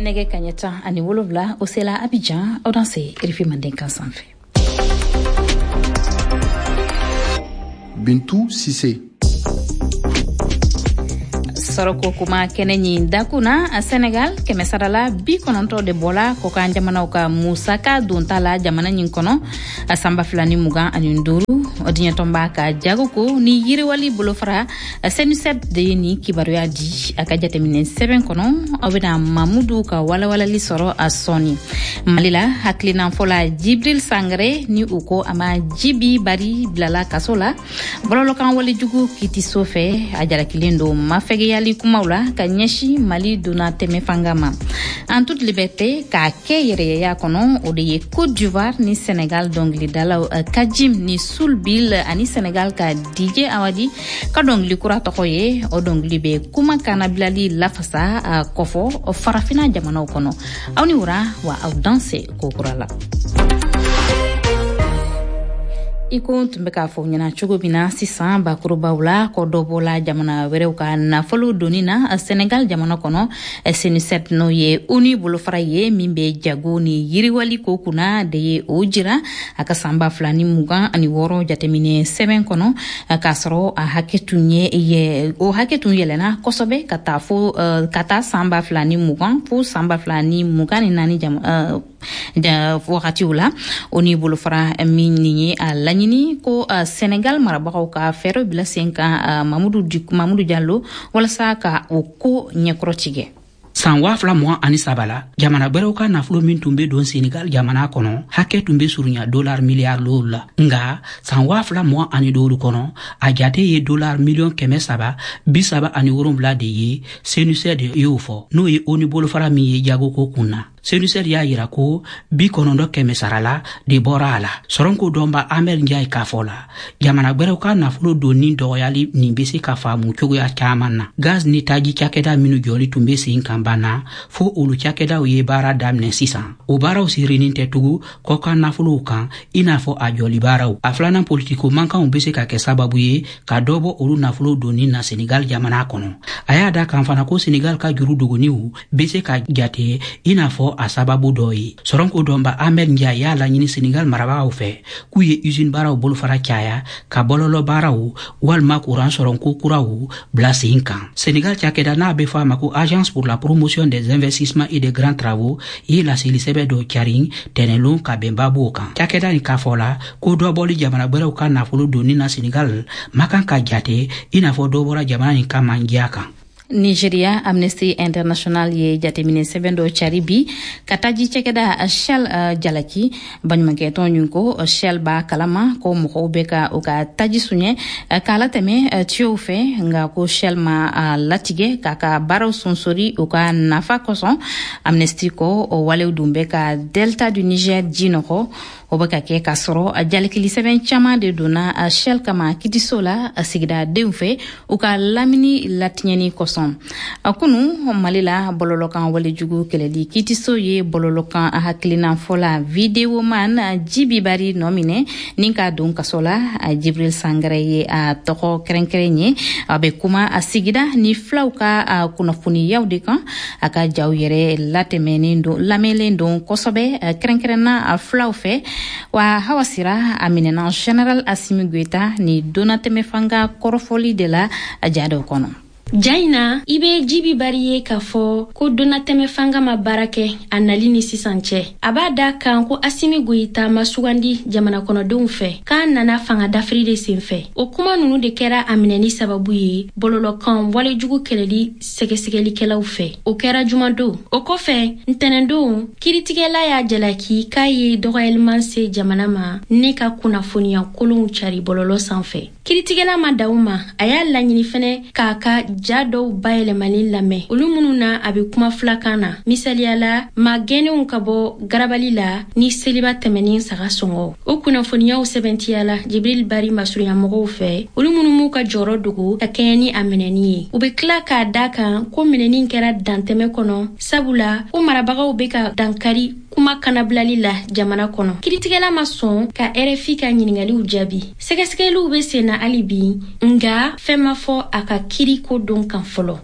Nɛgɛ kaɲɛ 17, o sela Abidjan. Aw danse RFI Mandenkan sanfɛ. Bintu Sise. Sɔrɔko kuma kɛnɛ ɲin dakun na, Senegal, kɛmɛsarala 90 de bɔla kɔkan jamanaw ka musaka donta la jamana ɲin kɔnɔ a san 2025. Diɲɛtɔnba ka jagoko ni yiriwali bolofara CENUCED de ye nin kibaruya di a ka jateminɛ sɛbɛn kɔnɔ. Aw bena Mamudu ka walawalali sɔrɔ a sɔɔni. Mali la, hakilinanfɔla Jibril Sangare, ni u ko a ma Jibi Bari, bilala kaso la bɔlɔlɔkan walejugu kitiso fɛ. A jalakilen don mafɛgɛyali kumaw la ka ɲɛsin Mali donna tɛmɛ fanga ma. En toute liberté, k'a kɛ yɛrɛyɛya kɔnɔ, o de ye Côte d'Ivoire ni Sénégal dɔngilidalaw Kajim ni Sulbil ani Sénégal ka DJ Awadi ka dɔngili kura tɔgɔ ye. O dɔngili bɛ kuma kanabilali lafasa kɔfɔ farafina jamanaw kɔnɔ. Aw ni wura wa, aw danse kokura la. I ko n tun bɛ k'a fɔ ɲɛna cogo min na sisan bakurubaw la, ko dɔ bɔla jamana wɛrɛw ka nafolo doni na Senegal jamana kɔnɔ. CENUCED, n'o ye ONU bolofara ye min bɛ jago ni yiriwali ko kunna, de ye o jira a ka san 2026 jateminɛ sɛbɛn kɔnɔ, k'a sɔrɔ a hakɛ tun ye, o hakɛ tun yɛlɛna kosɛbɛ ka taa fo ka taa san 2020 fo san 2024 wagatiw la. O ni bolofara min nin ye a laɲini ko Senegal marabagaw ka fɛɛrɛ bila sen kan, Mamudu Mamudu Jalo, walasa ka o ko ɲɛkɔrɔ tigɛ. San 2023 la, jamana gwɛrɛw ka nafolo min tun be don Senegal jamana kɔnɔ, hakɛ tun be surunya dolar miliyari 5 la. Nga san 2025 kɔnɔ, a jate ye dolar miliyɔn 337 de ye, CENUCED y'o fɔ, n'o ye ONU bolofara min ye jagoko kun na. CENUCED y'a yira ko 90 kɛmɛsarala de bɔra a la. Sɔrɔnko dɔnba Ahmed Njaye k'a fɔ la, jamana gwɛrɛw ka nafolo donni dɔgɔyali nin be se ka faamu cogoya caaman na. Gaz ni taji cakɛda minnu jɔli tun be sen kan banna, fo olu cakɛdaw ye baara daminɛ sisan. O baaraw sirinin tɛ tugu kɔkan nafolow kan i n'a fɔ a jɔli baaraw. A filanan, politiko mankanw be se ka kɛ sababu ye ka dɔ bɔ olu nafolo donni na Senegal jamana kɔnɔ. A y'a da kan fana ko Senegal ka juru dogoniw be se ka jate i n'a fɔ a sababu dɔ ye. Sɔrɔnko dɔnba Ahmed Njaye y'a laɲini Senegal marabagaw fɛ k'u ye usine baaraw bolofara caya, ka bɔlɔlɔ baaraw walima kuran sɔrɔnko kuraw bila sen kan. Senegal cakɛda n'a be fɔ a ma ko Agence pour la promotion des investissements et des grands travaux ye laseli sɛbɛ dɔ carin tɛnɛlon ka bɛn babuw kan. Cakɛda nin k'a fɔ la ko dɔ bɔli jamana gwɛrɛw ka nafolo donni na Senegal ma kan ka jate i n'a fɔ dɔ bɔra jamana nin ka mandiya kan. Nigeria, Amnesty International ye jateminɛ sɛbɛn dɔ cari bi ka taji cɛkɛda Shell jalaki. Baɲumankɛtɔn ɲin ko Shell b'a kalama ko mɔgɔw bɛ ka u ka taji suɲɛ k'a latɛmɛ tiyow fɛ, nka ko Shell ma a latigɛ k'a ka baaraw sonsori u ka nafa kosɔn. Amnesty ko o walew dun bɛ ka delta du Niger ji nɔgɔ. O bɛ ka kɛ k'a sɔrɔ jalakili sɛbɛn caman de donna Shell kama kitiso la sigidadenw fɛ u ka lamini latiɲɛni kosɔn. Kunu, Mali la, bɔlɔlɔkan walejugu kɛlɛli kitiso ye bɔlɔlɔkan hakilinafɔla videoman Jibi Bari nɔ minɛ ni k'a don kaso la. Jibril Sangare ye a tɔgɔ kɛrɛnkɛrɛn ye. A bɛ kuma a sigida ni filaw ka kunnafoniyaw de kan. A ka jaw yɛrɛ latɛmɛnen don, lamɛnlen don kosɛbɛ, kɛrɛnkɛrɛnna filaw fɛ. Wa Hawa Sira, a minɛna Général Asimi Goïta ni donnatɛmɛ fanga kɔrɔfɔli de la ja dɔw kɔnɔ. Ja in na, i be Jibi Bari ye k'a fɔ ko donnatɛmɛ fanga ma baara kɛ a nali ni sisan cɛ. A b'a da kan ko Asimi Goyita ma sugandi jamana kɔnɔdenw fɛ, k'a nana fanga dafiri de sen fɛ. O kuma nunu de kɛra a minɛni sababu ye bɔlɔlɔkan walejugu kɛlɛli sɛgɛsɛgɛlikɛlaw fɛ. O kɛra jumadon. O kɔfɛ, ntɛnɛndon, kiritigɛla y'a jalaki k'a ye dɔgɔyaliman se jamana ma ne ka kunnafoniya kolonw cari bɔlɔlɔ sanfɛ. Kiritigɛla ma da ma, a y'a laɲini fɛnɛ k'a ka ja dɔw bayɛlɛmalen lamɛn, olu minnu na a be kuma filakan na, misaliyala maa gɛnnenw ka bɔ garabali la ni seliba tɛmɛnin saga sɔngɔ. O kunnafoniyaw sɛbɛntiyala Jibril Bari masurunyamɔgɔw fɛ, olu minnu m'u ka jɔyɔrɔ dogo ka kɛɲɛ ni a minɛni ye. U be tila k'a da kan ko minɛni kɛra dantɛmɛ kɔnɔ, sabula ko marabagaw be ka dankari kuma kanabilali la jamana kɔnɔ. Kiritigɛla ma sɔn ka RFI ka ɲiningaliw jaabi. Sɛgɛsɛgɛliw be sen na hali bi, nga fɛn ma fɔ a ka kiri ko don kan fɔlɔ.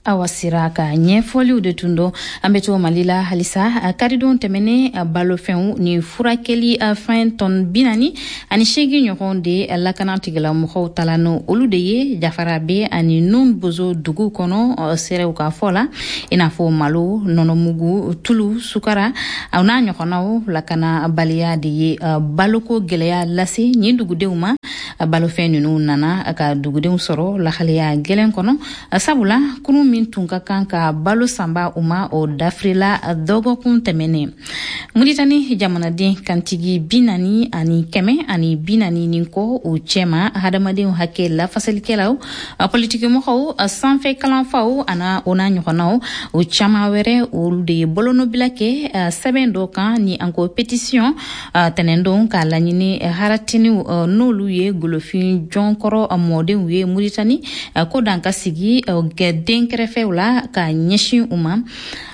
Awa Sira ka ɲɛfɔliw de tun don. An bɛ to Mali la halisa. Karidon tɛmɛnen, balofɛnw ni furakɛli fɛn tɔn 48 ɲɔgɔn de lakana tigilamɔgɔw tala n'o olu de ye Jafarabe ani Nun Bozo dugu kɔnɔ. Seerew ka fɔ la, i n'a fɔ malo, nɔnɔmugu, tulu, sukara, aw n'a ɲɔgɔnnaw. Lakanabaliya de ye baloko gɛlɛya lase nin dugudenw ma. Balofɛn ninnu nana ka dugudenw sɔrɔ lahalaya gɛlɛn kɔnɔ, sabula kurun min tun ka kan ka balo sanba u ma, o dafirila dɔgɔkun tɛmɛnen. Muritani jamanaden kantigi 40 ani 140 ni kɔ, o cɛma hadamadenw hakɛ lafasalikɛlaw, politikimɔgɔw, sanfɛ kalanfaw ana o n'a ɲɔgɔnnaw, o caman wɛrɛ, olu de ye bolonɔbila kɛ sɛbɛn dɔ kan ni an ko pétition tɛnɛndon, k'a laɲini haratiniw, n'olu ye golofin jɔnkɔrɔ mɔdenw ye Muritani, ko dan ka sigi den kɛrɛfɛw la ka ɲɛsin u ma.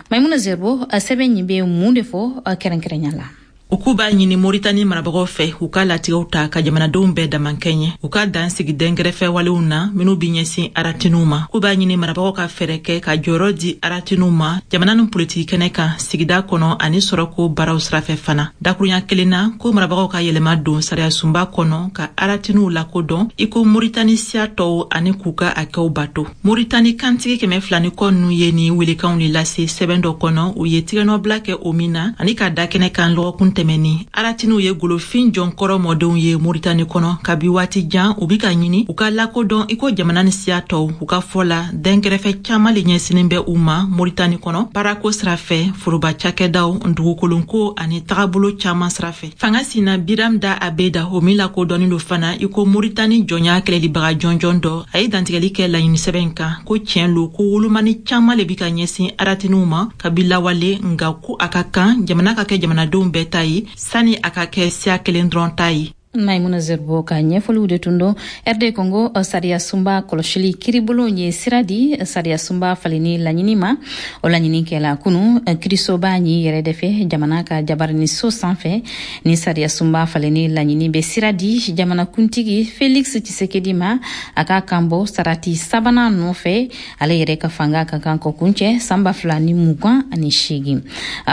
Maimuna Zerbo, sɛbɛn ɲi bɛ mun de fɔ kɛrɛnkɛrɛnya la? U k'u b'a ɲini Moritani marabagaw fɛ, u ka latigɛw ta ka jamanadenw bɛɛ damankɛɲɛ, u ka dan sigi dɛnkɛrɛfɛ walew na minw be ɲɛsin aratiniw ma. K'u b'a ɲini marabagaw ka fɛɛrɛ kɛ ka jɔyɔrɔ di aratiniw ma jamana ni politiki kɛnɛ kan, sigida kɔnɔ ani sɔrɔko baaraw sirafɛ fana. Dakurunya kelen na, ko marabagaw ka yɛlɛma don sariyasunba kɔnɔ ka aratiniw lakodɔn i ko Moritani siya tɔw ani k'u ka hakɛw bato. Moritani kantigi 200 ni kɔ ninnu ye nin welekanw de lase sɛbɛn dɔ kɔnɔ, u ye tigɛnɔbila kɛ o min na ani ka da kɛnɛ kan lɔgɔkun tɛmɛni. Aratiniw ye golofin jɔnkɔrɔ mɔdenw ye Moritani kɔnɔ kabi waati jan. U bi ka ɲini u ka lakodɔn i ko jamana ni siya tɔw. U ka fɔ la, dɛnkɛrɛfɛ caaman le ɲɛsinin bɛ u ma Moritani kɔnɔ, baarako sira fɛ, foroba cakɛdaw, dugukolonko ani tagabolo caaman sira fɛ. Fanga sina Biram Da Abeda, o min lakodɔnnen do fana i ko Moritani jɔnya kɛlɛlibaga jɔnjɔn dɔ, a ye dantigɛli kɛ laɲini sɛbɛn kan ko tiɲɛ lo ko wolomani caaman le bi ka ɲɛsin aratiniw ma kabi lawale, nga ko a ka kan jamana ka kɛ jamanadenw bɛɛ ta ye sani a ka kɛ siya kelen dɔrɔn ta ye. Maimuna Zerbo ka ɲɛfɔliw de tun don. RD Congo sariya sunba kɔlɔsili kiribulon ye sira di sariya sunba falenni laɲini ma. O laɲini kɛla kunu kirisoba ɲi yɛrɛ de fɛ, jamana ka jabaraniso sanfɛ. Ni sariya sunba falenni laɲini bɛ sira di jamana kuntigi Felix Tshisekedi ma, a ka kan bɔ sarati sabanan nɔfɛ. Ale yɛrɛ ka fanga ka kan kɔ kuncɛ san 2028.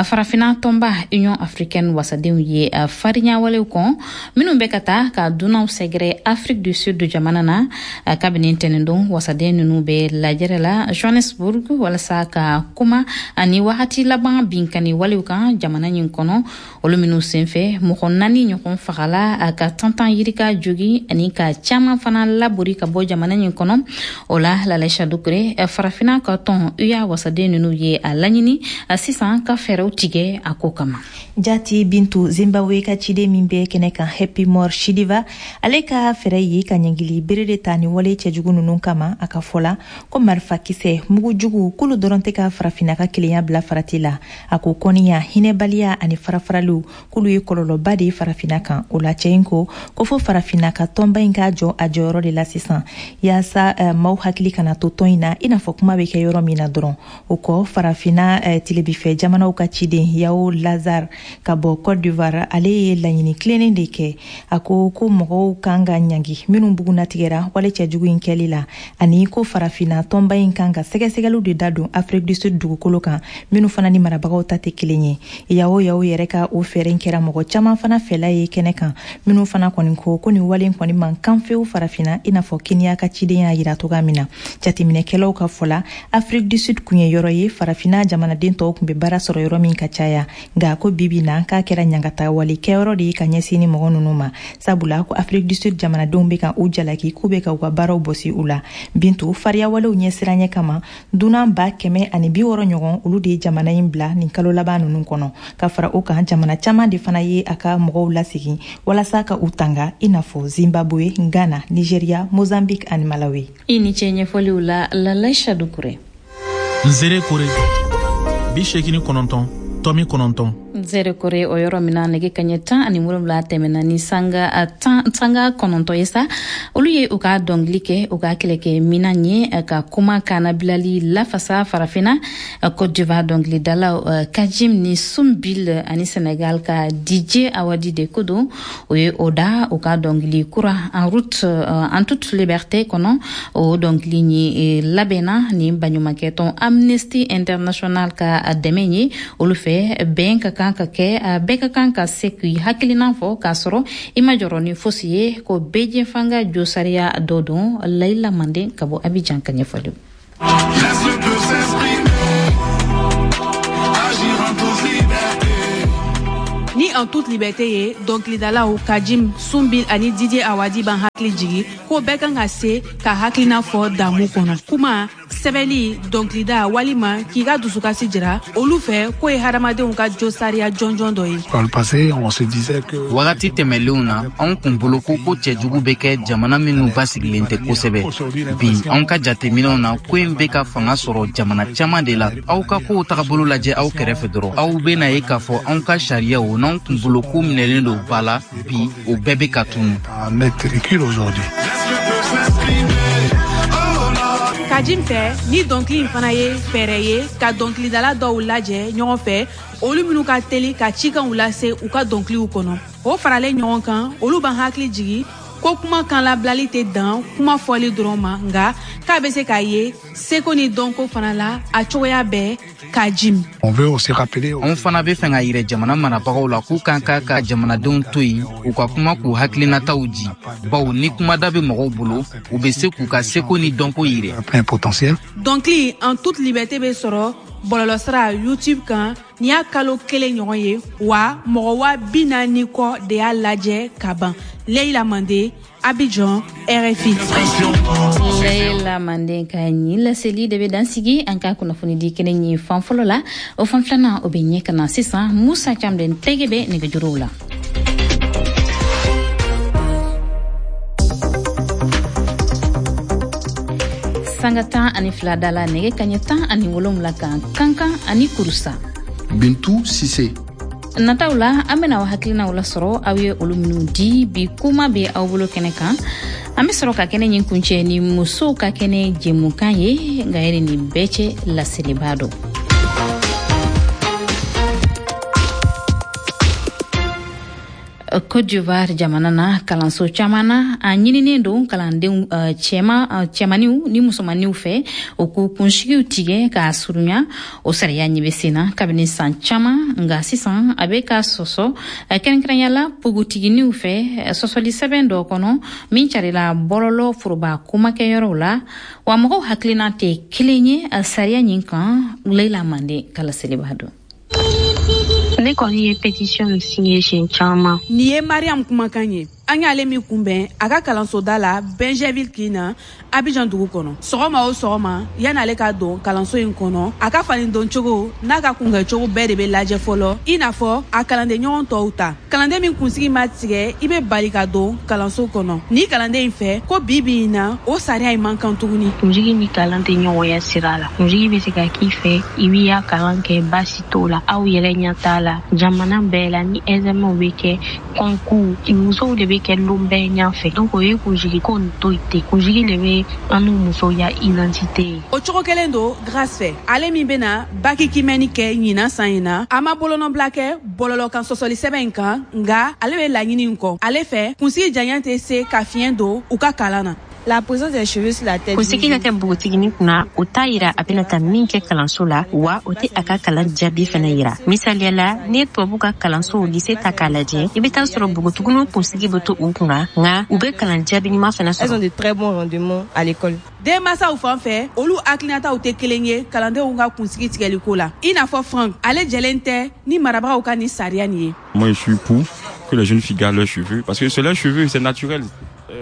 Farafina tɔnba Union africaine wasadenw ye farinya walew kɔn minnu bɛ ka taa ka dunanw sɛgɛrɛ Afrique du Sud jamana na. Kabini tɛnɛndon, wasaden ninnu bɛ lajɛrɛ la Johannesburg walasa ka kuma ani wagati laban binkani walew kan jamana ɲin kɔnɔ, olu minnu senfɛ mɔgɔ naani ɲɔgɔn fagala, ka tantan yirika jogi ani ka caaman fana labori ka bɔ jamana ɲin kɔnɔ. O la, Lalaisa Dukure, Farafina ka tɔn UA wasaden ninnu ye a laɲini sisan ka fɛɛrɛw tigɛ a ko kama. Jati Bintu, Zimbabwe ka ciden min bɛ kɛnɛ kan, Happymore Chidiva, ale ka fɛɛrɛ ye ka ɲangili bere de ta ni wale cɛjugu ninnu kama. A ka fɔ la ko marifakisɛ, mugujugu, k'olu dɔrɔn tɛ ka Farafinna ka kelenya bila farati la. A ko kɔniya, hinɛbaliya ani farafaraliw, k'olu ye kɔlɔlɔba de ye Farafinna kan. O la, cɛ in ko ko fo Farafinna ka tɔnba in k'a jɔ a jɔyɔrɔ de la sisan, yaasa maaw hakili kana to tɔn in na i n'a fɔ kuma bɛ kɛ yɔrɔ min na dɔrɔn. O kɔ, Farafinna tilebifɛ jamanaw ka ciden Yao Lazare ka bɔ Côte d'Ivoire, ale ye laɲini tilennen de kɛ. A ko ko mɔgɔw kan ka ɲangi minnu bugunatigɛra wale cɛjugu in kɛli la, ani ko Farafinna tɔnba in kan ka sɛgɛsɛgɛliw de da don Afrique du Sud dugukolo kan, minnu fana ni marabagaw ta tɛ kelen ye. Yao Yao yɛrɛ ka o fɛɛrɛ kɛra mɔgɔ caman fana fɛla ye kɛnɛ kan, minnu fana kɔni ko ko nin wale kɔni man kan fewu Farafinna, i n'a fɔ Keniya ka ciden y'a yira cogoya min na. Jateminɛkɛlaw ka fɔ la, Afrique du Sud kun ye yɔrɔ ye Farafinna jamanaden tɔw kun bɛ baara sɔrɔ yɔrɔ min ka caya, nka ko bibi na k'a kɛra ɲangata wale kɛyɔrɔ de ye ka ɲɛsin ni mɔgɔ ninnu ma, sabula ko Afrique du Sud jamanadenw bɛ ka u jalaki k'u bɛ ka u ka baaraw bɔsi u la. Bintu, fariyawalew ɲɛsiranɲɛ kama, dunan 160 ɲɔgɔn, olu de ye jamana in bila nin kalo laban ninnu kɔnɔ. Ka fara o kan, jamana caman de fana ye a ka mɔgɔw lasegin walasa ka u tanga, i n'a fɔ Zimbabwe, Ghana, Nigeria, Mozambique ani Malawi. I ni ce ɲɛfɔliw la, Lalaisa Dukure. Nzere kore 89. Tomi 9. Nzɛrɛkɔrɛ o yɔrɔ min na, nɛgɛ kaɲɛ 17 tɛmɛna ni sanga 10, sanga 9 ye sa. Olu ye u ka dɔnkili kɛ u ka kɛlɛkɛ minan ye ka kuma kanabilali lafasa Farafinna. Côte d'Ivoire dɔnkilidalaw Kajim ni Sumbil ani Senegal ka DJ Awadi de ko don. O ye o da u ka dɔnkili kura En route en toute liberté kɔnɔ. O dɔnkili ni labɛnna ni baɲumankɛ tɔn Amnesty International ka dɛmɛ ye. Olu fɛ, bɛn ka kan ka kɛ, bɛɛ ka kan ka se k'i hakilina fɔ k'a sɔrɔ i ma jɔrɔ ni fosi ye, ko bɛɛ fanga josariya dɔ don. Layila Manden ka bɔ Abidjan ka ɲɛfɔli. Laisse le peuple s'exprimer, agir en toute liberté. Ni En toute liberté ye, dɔnkilidalaw Kajim, Sunbil ani Didier Awadi b'an hakili jigi ko bɛɛ kan ka se ka hakilina fɔ damu kɔnɔ, kuma, sɛbɛli, dɔnkilida walima k'i ka dusukasi jira. Olu fɛ, k'o ye hadamadenw ka josariya jɔnjɔn dɔ ye. Dans le passé, on se disait que Wagati tɛmɛlenw na, anw kun bolo ko ko cɛjugu bɛ kɛ jamana minnu basigilen tɛ kosɛbɛ. Bi, anw ka jateminɛw na, ko in bɛ ka fanga sɔrɔ jamana caman de la. Aw ka kow tagabolo lajɛ aw kɛrɛfɛ dɔrɔn, aw bena ye k'a fɔ anw ka sariyaw n'anw kun bolo ko minɛlen don ba la, bi o bɛɛ bɛ ka tunu. Un net recul aujourd'hui. Laisse le peuple s'exprimer. Oh là. Kajim fɛ, ni dɔnkili in fana ye fɛɛrɛ ye ka dɔnkilidala dɔw lajɛ ɲɔgɔn fɛ, olu minnu ka teli ka cikanw lase u ka dɔnkiliw kɔnɔ. O faralen ɲɔgɔn kan, olu b'an hakili jigi ko kuma kan labilali tɛ dan kuma fɔli dɔrɔn ma, nka k'a bɛ se k'a ye seko ni dɔnko fana la a cogoya bɛɛ. Kajim. On veut aussi rappeler Anw fana bɛ fɛ ka yirɛ jamana marabagaw la k'u kan ka jamanadenw to yen, u ka kuma k'u hakilinataw di, bawo ni kumada bɛ mɔgɔw bolo, u bɛ se k'u ka seko ni dɔnko yirɛ. Un plein potentiel. Dɔnkili En toute liberté bɛ sɔrɔ bɔlɔlɔsira YouTube kan. Nin y'a kalo 1 ɲɔgɔn ye wa, mɔgɔ 40 000 kɔ de y'a lajɛ ka ban. Leyila Mande, Abidjan, RFI. Layila Manden ka ɲin laseli de bɛ dan sigi an ka kunnafoni di kɛnɛ ɲin fan fɔlɔ la. O fan filanan, o bɛ ɲɛ ka na sisan. Musa Camden tɛgɛ bɛ nɛgɛjuruw la. Sanga 12 da la, nɛgɛ kaɲɛ 17 kan, Kankan ani Kurusa. Bintu Sise. Nataw la, an bena aw hakilinaw lasɔrɔ, aw ye olu minw di bi kuma bɛ aw bolo kɛnɛ kan. An be sɔrɔ ka kɛnɛ ɲin kuncɛ ni musow ka kɛnɛ jɛmukan ye. Nka yɛrɛ nin bɛɛ cɛ, laseliba dɔ. Côte d'Ivoire jamana na, kalanso caman na, a ɲininen don kalandenw cɛma, cɛmaniw ni musomaniw fɛ, o k'u kunsigiw tigɛ k'a surunya. O sariya ɲɛ bɛ sen na kabini san caman, nka sisan a bɛ ka sɔsɔ, kɛrɛnkɛrɛnya la npogotiginiw fɛ. Sɔsɔli sɛbɛn dɔ kɔnɔ min carila bɔlɔlɔ foroba komakɛyɔrɔw la wa, mɔgɔw hakilina tɛ kelen ye sariya ɲin kan. Leila Mande ka laseliba don. Ne kɔni ye pétition signé siɲɛ caman. Nin ye Mariam kumakan ye. An y'ale min kunbɛn a ka kalansoda la Bingerville kin na, Abidjan dugu kɔnɔ. Sɔgɔma o sɔgɔma, yan'ale ka don kalanso in kɔnɔ, a ka fani don cogo n'a ka kunkɛcogo bɛɛ de bɛ lajɛ fɔlɔ, i n'a fɔ a kalanden ɲɔgɔn tɔw ta. Kalanden min kunsigi ma tigɛ, i bɛ bali ka don kalanso kɔnɔ. Ni kalanden in fɛ ko bi bi in na, o sariya in man kan tuguni. Kunsigi ni kalan tɛ ɲɔgɔnya sira la. Kunsigi bɛ se ka k'i fɛ, i b'i ya kalan kɛ, baasi t'o la, aw yɛrɛ ɲɛ t'a la. Jamana bɛɛ la, ni examen bɛ kɛ, concours, musow de bɛ kɛ lon bɛɛ ɲɛfɛ. Donc o ye kunsigi ko nin to yen ten. Kunsigi de bɛ an n'u musow ya identité ye. O cogo kelen don Grâce fɛ, ale min bɛna bac kimɛni kɛ ɲinan san in na. A ma bolonɔbila kɛ bɔlɔlɔ kan sɔsɔli sɛbɛn in kan, nka ale bɛ laɲini in kɔ. Ale fɛ, kunsigi janya tɛ se ka fiɲɛ don u ka kalan na. La présence des cheveux sur la tête. Kunsigi ka kɛ npogotiginin kunna, o t'a yira a bɛna taa min kɛ kalanso la, wa o tɛ a ka kalan jaabi fɛnɛ yira. Misaliya la, n'i ye tubabu ka kalansow lycée ta k'a lajɛ, i bɛ taa sɔrɔ npogotiginiw kunsigi bɛ to u kunna, nka u bɛ kalan jaabi ɲuman fɛnɛ Elles ont sɔrɔ. de très bons rendements à l'école. Denmansaw fan fɛ, olu hakilinataw tɛ kelen ye kalandenw ka kunsigi tigɛliko la. I n'a fɔ Frank, ale jɛlen tɛ ni marabagaw ka nin sariya nin ye. Moi, je suis pour que les jeunes filles gardent leurs cheveux parce que c'est leurs cheveux, c'est naturel.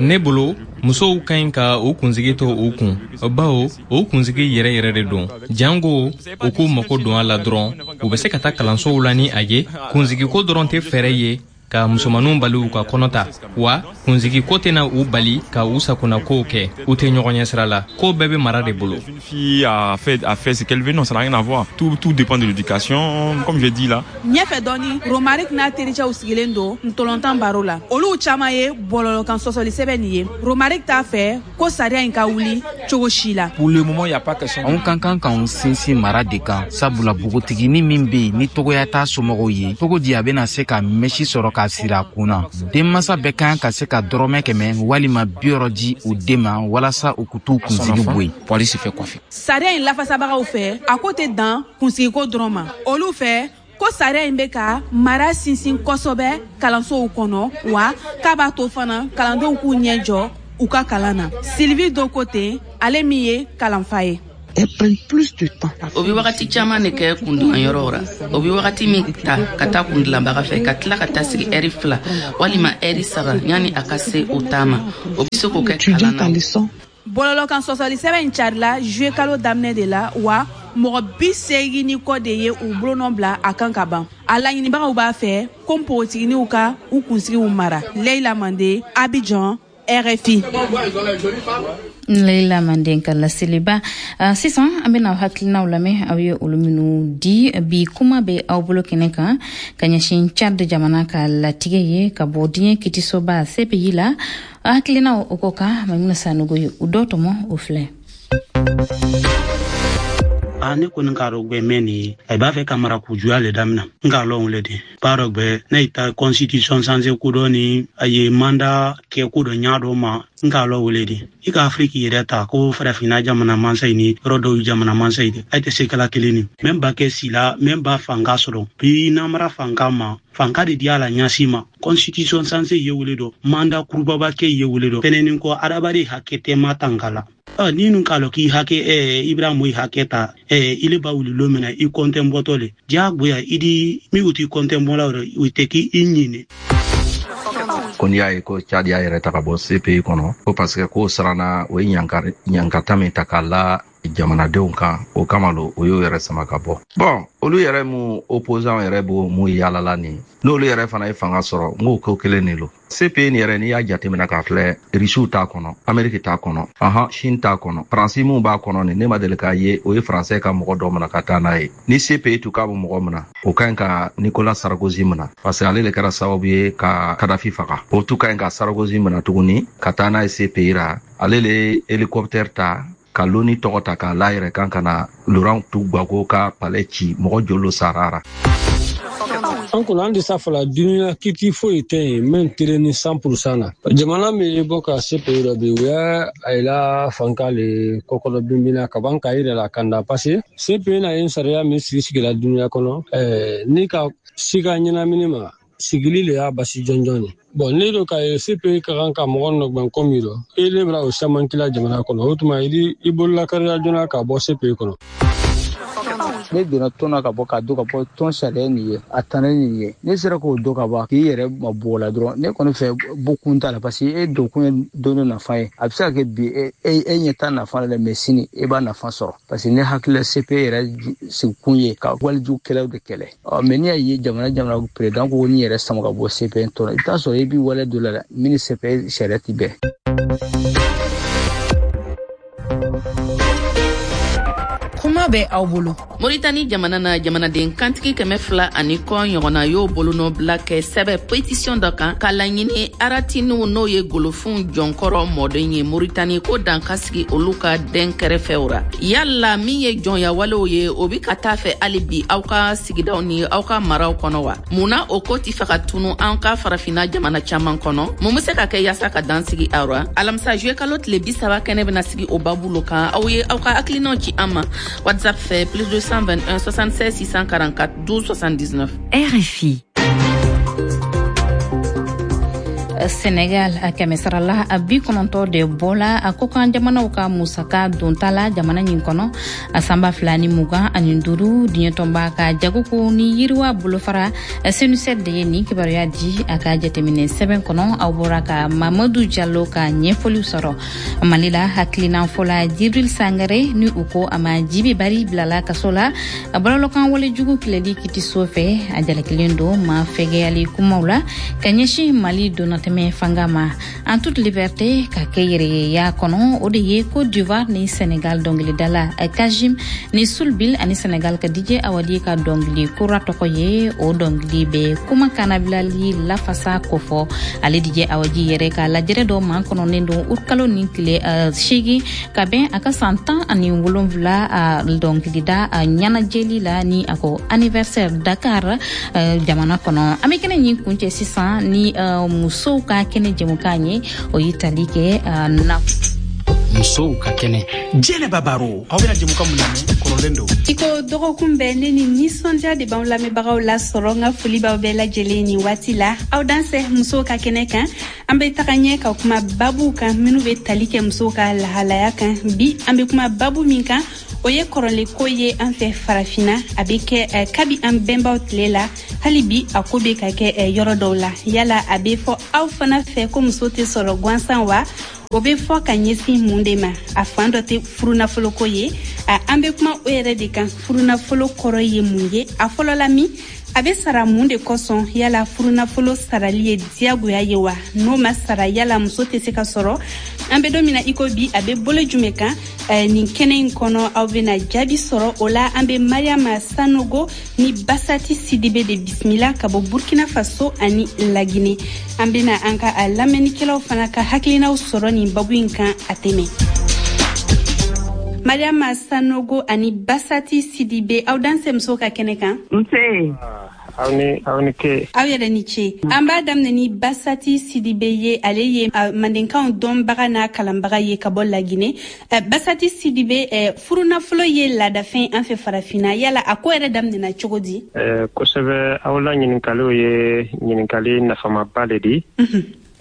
Ne bolo, musow ka ɲi ka u kunsigi to u kun, bawo o kunsigi yɛrɛ yɛrɛ de don. Jango u k'u mago don a la dɔrɔn, u bɛ se ka taa kalansow la ni a ye. Kunsigiko dɔrɔn tɛ fɛɛrɛ ye. ka musomaninw bali u ka kɔnɔ ta wa kunsigi ko tɛna u bali ka u sagonakow kɛ. U tɛ ɲɔgɔn ɲɛ sira la, ko bɛɛ bɛ mara de bolo. Une fille a fait ce qu'elle veut, non, ça n'a rien à voir. Tout dépend de l'éducation, comme j'ai dit là. Ɲɛfɛ dɔɔni, Romaric n'a tericɛw sigilen don ntolɔntan baro la. Olu caman ye bɔlɔlɔkan sɔsɔli sɛbɛn nin ye. Romaric t'a fɛ ko sariya in ka wuli cogo si la. Pour le moment, il y a pas question. Anw ka kan k'anw sinsin mara de kan, sabula npogotiginin min be yen ni togoya t'a somɔgɔw ye, cogo di a bena se ka mɛsi sɔrɔ k'a siri a kun na? Denmasa bɛɛ kan ka se ka dɔrɔmɛ 100 walima 60 di u den ma walasa u k'u t'u kunsigi bɔ yen. Pour aller se faire coiffer. Sariya in lafasabagaw fɛ, a ko tɛ dan kunsigiko dɔrɔn ma. Olu fɛ ko sariya in bɛ ka mara sinsin kosɛbɛ kalansow kɔnɔ, wa k'a b'a to fana kalandenw k'u ɲɛ jɔ u ka kalan na. Sylvie dɔ ko ten, ale min ye kalanfa ye. O bɛ wagati caman de kɛ kundilanyɔrɔw ra. O bɛ wagati min ta ka taa kundilanbaga fɛ, ka tila ka taa sigi ɛri 2 walima ɛri 3 yanni a ka se o ta ma, o bɛ se k'o kɛ kalan na. Bɔlɔlɔkan sɔsɔli sɛbɛn in carila juillet kalo daminɛ de la, wa mɔgɔ 80 ni kɔ de ye u bolonɔ bila a kan ka ban. A laɲinibagaw b'a fɛ ko npogotigininw ka u kunsigiw mara. Leila Mande, Abidjan, RFI. Leila Manden ka laseliba. Sisan an bɛna aw hakilinaw lamɛn, aw ye olu minnu di. Bi kuma bɛ aw bolo kɛnɛ kan ka ɲɛsin Tchad jamana ka latigɛ ye ka bɔ diɲɛ kitisoba CPI la. Hakilinaw o ko kan, Maimuna Sanogo ye u dɔ tɔmɔ, o filɛ. A ne kɔni k'a dɔn gbɛ mɛn nin ye, a b'a fɛ ka marakojuguya le damina. N k'a lɔn o le de b'a dɔn gbɛ ne ye ta constitution changer ko dɔ ni a ye mandat kɛ ko dɔ ɲa dɔ ma, n k'a lɔn o le de. I ka Afiriki yɛrɛ ta ko farafinna jamana mansa ye ni yɔrɔ dɔw jamana mansa ye de, a tɛ se kɛla kelen ni mɛn ba kɛ si la, mɛn ba fanga sɔrɔ bi namara fanga ma, fanka de di a la ɲasi ma. Constitution changer ye wele dɔ, mandat kurubaba kɛ ye wele dɔ fɛnɛnin kɔ, adamaden hakɛ tɛ ma tanka la. Ni nun k'a lɔn k'i hakɛ Ibrahim i hakɛ ta, ile ba wuli lon min na i kɔntɛn bɔtɔ le diyagoya i di min u t'i kɔntɛn bɔla o tɛ k'i ɲini. Ko n'i y'a ye ko Tchad y'a yɛrɛ ta ka bɔ CPI kɔnɔ, ko parce que k'o siranna o ye ɲankata min ta k'a la jamanadenw kan, o kama lo o y'o yɛrɛ sama ka bɔ. Bon, olu yɛrɛ mu opposant yɛrɛ b'o mu yaalala nin, n'olu yɛrɛ fana ye fanga sɔrɔ, n k'o ko kelen de lo. CPI nin yɛrɛ, n'i y'a jateminɛ k'a filɛ, Rusiw t'a kɔnɔ, Ameriki t'a kɔnɔ, ahan, Chine t'a kɔnɔ, Faransi mun b'a kɔnɔ nin, ne ma deli k'a ye o ye Faransɛ ka mɔgɔ dɔ minɛ ka taa n'a ye. Ni CPI tun k'a bɛ mɔgɔ minɛ, o ka ɲi ka Nicolas Sarkozy minɛ, parce que ale de kɛra sababu ye ka Kadhafi faga. O tun ka ɲi ka Sarkozy minɛ tuguni ka taa n'a ye CPI ra. Ale le ye hélicoptère ta ka loni tɔgɔ ta k'a la yɛrɛ kan ka na Laurent Gbagbo ka palais ci, mɔgɔ joli sara ra. An kɔni an tɛ s'a fɔla duniya kiti foyi tɛ yen min tere ni 100% na. Jamana min ye bɔ ka CPI rɔ bi, u y'a a la fanka le kɔkɔrɔ binbina ka ban k'a yɛrɛ la kanda, parce que CPI na ye sariya min sigi sigila duniya kɔnɔ, ni ka siga ɲɛnamini ma sigili le y'a basi jɔnjɔn ye. Bon, ne do ka ye CPI ka kan ka mɔgɔ nɔgbɛn ko min rɔ, e le bɛna o caman kila jamana kɔnɔ, o tuma i bolola kariya joona ka bɔ CPI kɔnɔ. Ne donna tɔn na ka bɔ k'a don ka bɔ tɔn sariya nin ye, a tana nin ye, ne sera k'o don ka bɔ k'i yɛrɛ ma bɔ la dɔrɔn, ne kɔni fɛ bɔ kun t'a la, parce que e don kun ye don dɔ nafa ye. A bɛ se ka kɛ bi e ɲɛ t'a nafa la dɛ, mais sini e b'a nafa sɔrɔ, parce que ne hakili la CPI yɛrɛ sigikun ye ka walijugu kɛlɛw de kɛlɛ. Ɔ mais n'i y'a ye jamana président ko n'i yɛrɛ sama ka bɔ CPI tɔn, i bɛ taa sɔrɔ i b'i wale dɔ la dɛ min ni CPI sariya ti bɛn. Kuma bɛ aw bolo. Moritani jamana na, jamanaden kantigi 200 ani kɔ ɲɔgɔnna y'o bolonɔbila kɛ sɛbɛ pétition dɔ kan ka laɲini aratiniw, n'o ye golofinw jɔnkɔrɔ mɔden ye Moritani, ko dan ka sigi olu ka den kɛrɛfɛw ra. Yala min ye jɔnyawalew ye, o bi ka taa fɛ hali bi aw ka sigidaw ni aw ka maraw kɔnɔ wa? Mun na o ko ti fɛ ka tunu an ka farafinna jamana caman kɔnɔ? Mun be se ka kɛ yaasa ka dan sigi aw ra? Alamisa juillet kalo tile 30, kɛnɛ bena sigi o babu lo kan. Aw ye aw ka hakilinaw ci an ma WhatsApp fɛ plus 221 76 644 12 79. RFI. Senegal, kɛmɛsarala 90 de bɔla a kɔkan jamanaw ka musaka donta la jamana nin kɔnɔ a san 2025. Diɲɛtɔnba ka jagoko ni yiriwa bolofara CNUCED de ye nin kibaruya di a ka jateminɛ sɛbɛn kɔnɔ. Aw bɔra ka Mamadu Jalo ka ɲɛfɔliw sɔrɔ. Mali la, hakilinan fɔla Jibril Sangare, ni u ko a ma Jibi Bari, bilala kaso la bɔlɔlɔkan walejugu kɛlɛli kitiso fɛ. A jalakilen don ma fɛgɛyali kumaw la ka ɲɛsin Mali donnatɛmɛ fanga ma. En toute liberté, ka kɛ yɛrɛyeya kɔnɔ, o de ye Côte d'Ivoire ni Sénégal dɔngilidala Kajim ni Sulbil ani Sénégal ka DJ Awadi ka dɔngili kura tɔgɔ ye. O dɔngili bɛ kuma kanabilali lafasa kofɔ. Ale DJ Awadi yɛrɛ ka lajɛrɛ dɔ man kɔnɔnen don utkalo ni tile 8, ka bɛn a ka san 17 dɔnkilida ɲɛnajɛli la, ni a ko anniversaire, Dakar jamana kɔnɔ. An bɛ kɛnɛ ɲin kuncɛ sisan ni musow ka kɛnɛ jɛmukan ye. O ye tali kɛ na Musow ka kɛnɛ. Jɛnɛba Baro, aw bɛna jɛmukan mun lamɛn, kɔrɔlen don. I ko dɔgɔkun bɛɛ, ne ni nisɔndiya de b'anw lamɛnbagaw lasɔrɔ. N ka foli b'aw bɛɛ lajɛlen nin waati la. Aw dansɛ musow ka kɛnɛ kan. An bɛ taga ɲɛ ka kuma babuw kan minnu bɛ tali kɛ musow ka lahalaya kan. Bi, an bɛ kuma babu min kan, o ye kɔrɔlenko ye an fɛ Farafinna. A bɛ kɛ kabi an bɛnbaw tile la, hali bi a ko bɛ ka kɛ yɔrɔ dɔw la. Yala a bɛ fɔ aw fana fɛ ko muso tɛ sɔrɔ gansan wa? O bɛ fɔ ka ɲɛsin mun de ma? A fan dɔ tɛ furunafoloko ye. An bɛ kuma o yɛrɛ de kan. Furunafolo kɔrɔ ye mun ye? A fɔlɔla min, a bɛ sara mun de kosɔn? Yala furunafolo sarali ye diyagoya ye wa? N'o ma sara, yala muso tɛ se ka sɔrɔ? An bɛ don min na i ko bi, a bɛ bolo jumɛn kan? Nin kɛnɛ in kɔnɔ, aw bɛna jaabi sɔrɔ o la. An bɛ Mariama Sanogo ni Basati Sidibe de bisimila ka bɔ Burkina Faso ani Lagine. An bɛna an ka a lamɛnnikɛlaw fana ka hakilinaw sɔrɔ nin babu in kan. A tɛmɛ Mariama Sanogo ani Basati Sidibe, aw dansɛ musow ka kɛnɛ kan. Nse. Aw ni, aw ni ke. Aw yɛrɛ ni ce. An b'a daminɛ ni Basati Sidibe ye. Ale ye mandenkanw dɔnbaga n'a kalanbaga ye ka bɔ Lagine. Basati Sidibe, furunafolo ye laadafɛn an fɛ Farafinna. Yala a ko yɛrɛ daminɛna cogo di? Kosɛbɛ, aw la ɲininkaliw ye ɲininkali nafamaba le di.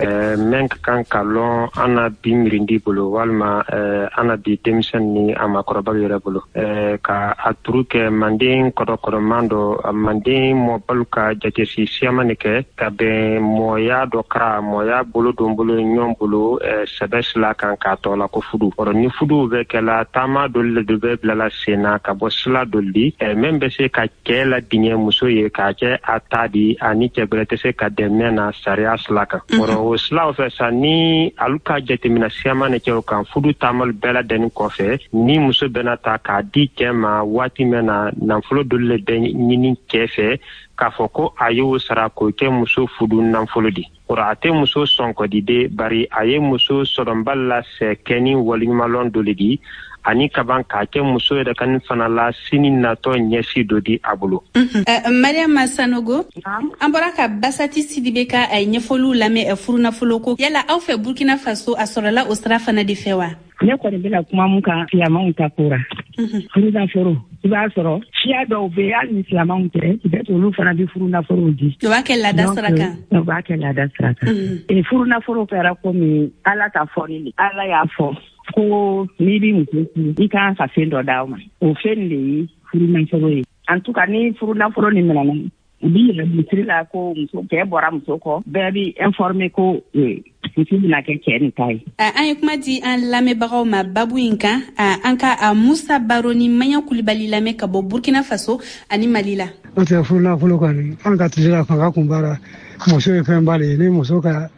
Mɛn ka kan ka lɔn an na bi mirindi bolo, walima an na bi denmisɛn ni a makɔrɔbaw yɛrɛ bolo, ka a turu kɛ manden kɔdɔkɔdɔman dɔ, manden mɔbalu ka jatesi siyaman de kɛ ka bɛn mɔya dɔ kara mɔya bolo don bolo ɲɔgɔn bolo sɛbɛ sila kan k'a tɔ la ko fudu. Ɔrɔ ni fuduw bɛ kɛla, taama doli le do bɛ bilala sen na ka bɔ sila doli di, mɛn bɛ se ka cɛɛ la diɲɛ muso ye k'a kɛ a ta di, ani cɛ gbɛrɛ tɛ se ka dɛmɛ na sariya sila kan. Ɔrɔ o silaw fɛ sa, ni alu ka jatemina siyaman ne cɛw kan, fudu taamalu bɛɛ ladɛnni kɔfɛ, ni muso bɛna ta k'a di cɛɛ ma waati mɛn na, nafolo doli le bɛ ɲini cɛɛ fɛ k'a fɔ ko a y'o sara k'o kɛ muso fudu nafolo di. Ɔrɔ a tɛ muso sɔnkɔdi de, bari a ye muso sɔrɔnbali la sɛ kɛ ni waleɲumanlɔn dɔ le di, ani kaban k'a kɛ muso yɛrɛ kan fana la sini natɔ ɲɛsi dɔ di a bolo. Mariama Sanogo, an bɔra ka Basati Sidibe ka ɲɛfɔliw lamɛn furunafolo ko. Yala aw fɛ Burkina Faso, a sɔrɔla o sira fana de fɛ wa? Ne kɔni bɛna kuma mun kan, silamɛw ta ko ra, furunafolo, i b'a sɔrɔ siya dɔw bɛ yen, hali ni silamɛw tɛ, peut-être olu fana bɛ furunafolow di. O b'a kɛ laada sira kan. O b'a kɛ laada sira kan. Furunafolo kɛra komi Ala ka fɔli le. Ala y'a fɔ ko n'i bɛ muso furu, i kan ka fɛn dɔ d'aw ma. O fɛn de ye furunafolo ye. En tout cas, ni furunafolo ni minɛna, u b'i yɛrɛ misiri la ko muso cɛ bɔra muso kɔ, bɛɛ b'i informer ko muso bɛna kɛ cɛ nin ta ye. An ye kuma di an lamɛnbagaw ma babu in kan. An ka a Musa Baro ni Maɲa Kulibali lamɛn ka bɔ Burkina Faso ani Mali la. N'o tɛ, furunafolo kɔni, an ka tile la, fanga kun b'a la. Muso ye fɛnba de ye. Ni muso ka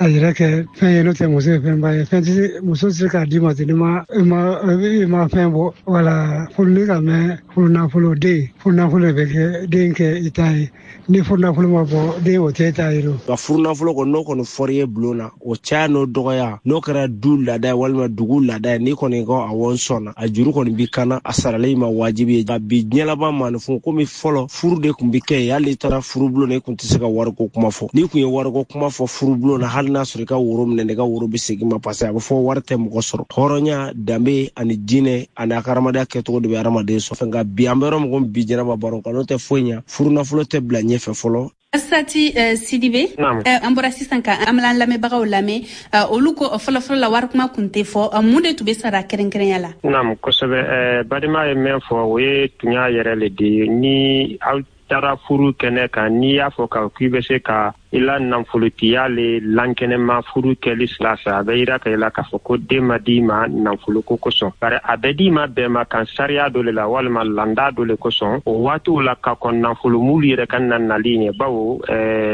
a yɛrɛ kɛ fɛn ye, n'o tɛ, muso ye fɛnba ye. Fɛn tɛ se, muso tɛ se k'a d'i ma ten n'i ma i ma i ma fɛn bɔ. Wala furu ni ka mɛn, furunafolo, den furunafolo de bɛ kɛ den kɛ i ta ye. Ni furunafolo ma bɔ, den o tɛ ta ye. Nka furunafolo kɔni, n'o kɔni fɔr'i ye bulon na, o caya n'o dɔgɔya, n'o kɛra du laada ye walima dugu laada ye, n'i kɔni ko awɔ n sɔnna, a juru kɔni b'i kan na, a sarali ma wajibi ye. Nka bi diɲɛ laban maaninfin, komi fɔlɔ furu de tun bɛ kɛ yen, hali n'i taara furubulon na, i tun tɛ se ka wariko kuma fɔ. N'i tun ye wariko kuma fɔ furubulon na, hali n'a sɔrɔ i ka woro minɛ, i ka woro bɛ segin ma, parce que a bɛ fɔ wari tɛ mɔgɔ sɔrɔ. Hɔrɔnya, danbe ani diinɛ ani a ka hadamadenya kɛcogo de bɛ hadamaden sɔrɔ. Nka bi, an bɛ yɔrɔ min komi bi, Jɛnɛba Baro kan, n'o tɛ foyi ɲɛ, furunafolo tɛ bila ɲɛfɛ fɔlɔ. Sati Sidibe, an bɔra sisan ka an lamɛnbagaw lamɛn, olu ko fɔlɔfɔlɔ la warikuma kun tɛ fɔ. Mun de tun bɛ sara kɛrɛnkɛrɛnya la? Naam, kosɛbɛ. Badima ye min fɔ, o ye tunya yɛrɛ le di. Ni aw taara furu kɛnɛ kan, n'i y'a fɔ ka k'i bɛ se ka i la nafolotiya le lankɛnɛma furu kɛli sira fɛ, a bɛ yira ka i la k'a fɔ ko den ma d'i ma nafoloko kosɔn, bari a bɛ d'i ma bɛnma kan sariya dɔ le la walima landa dɔ le kosɔn. O waatiw la ka kɔn nafolo mulu yɛrɛ ka na nali ɲɛ, bawo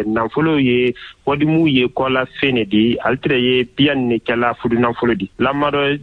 nafolo ye wadimu ye kɔla fen ne di, ale tɛrɛ ye biyan ne kɛla furu nafolo di. Lamadɔ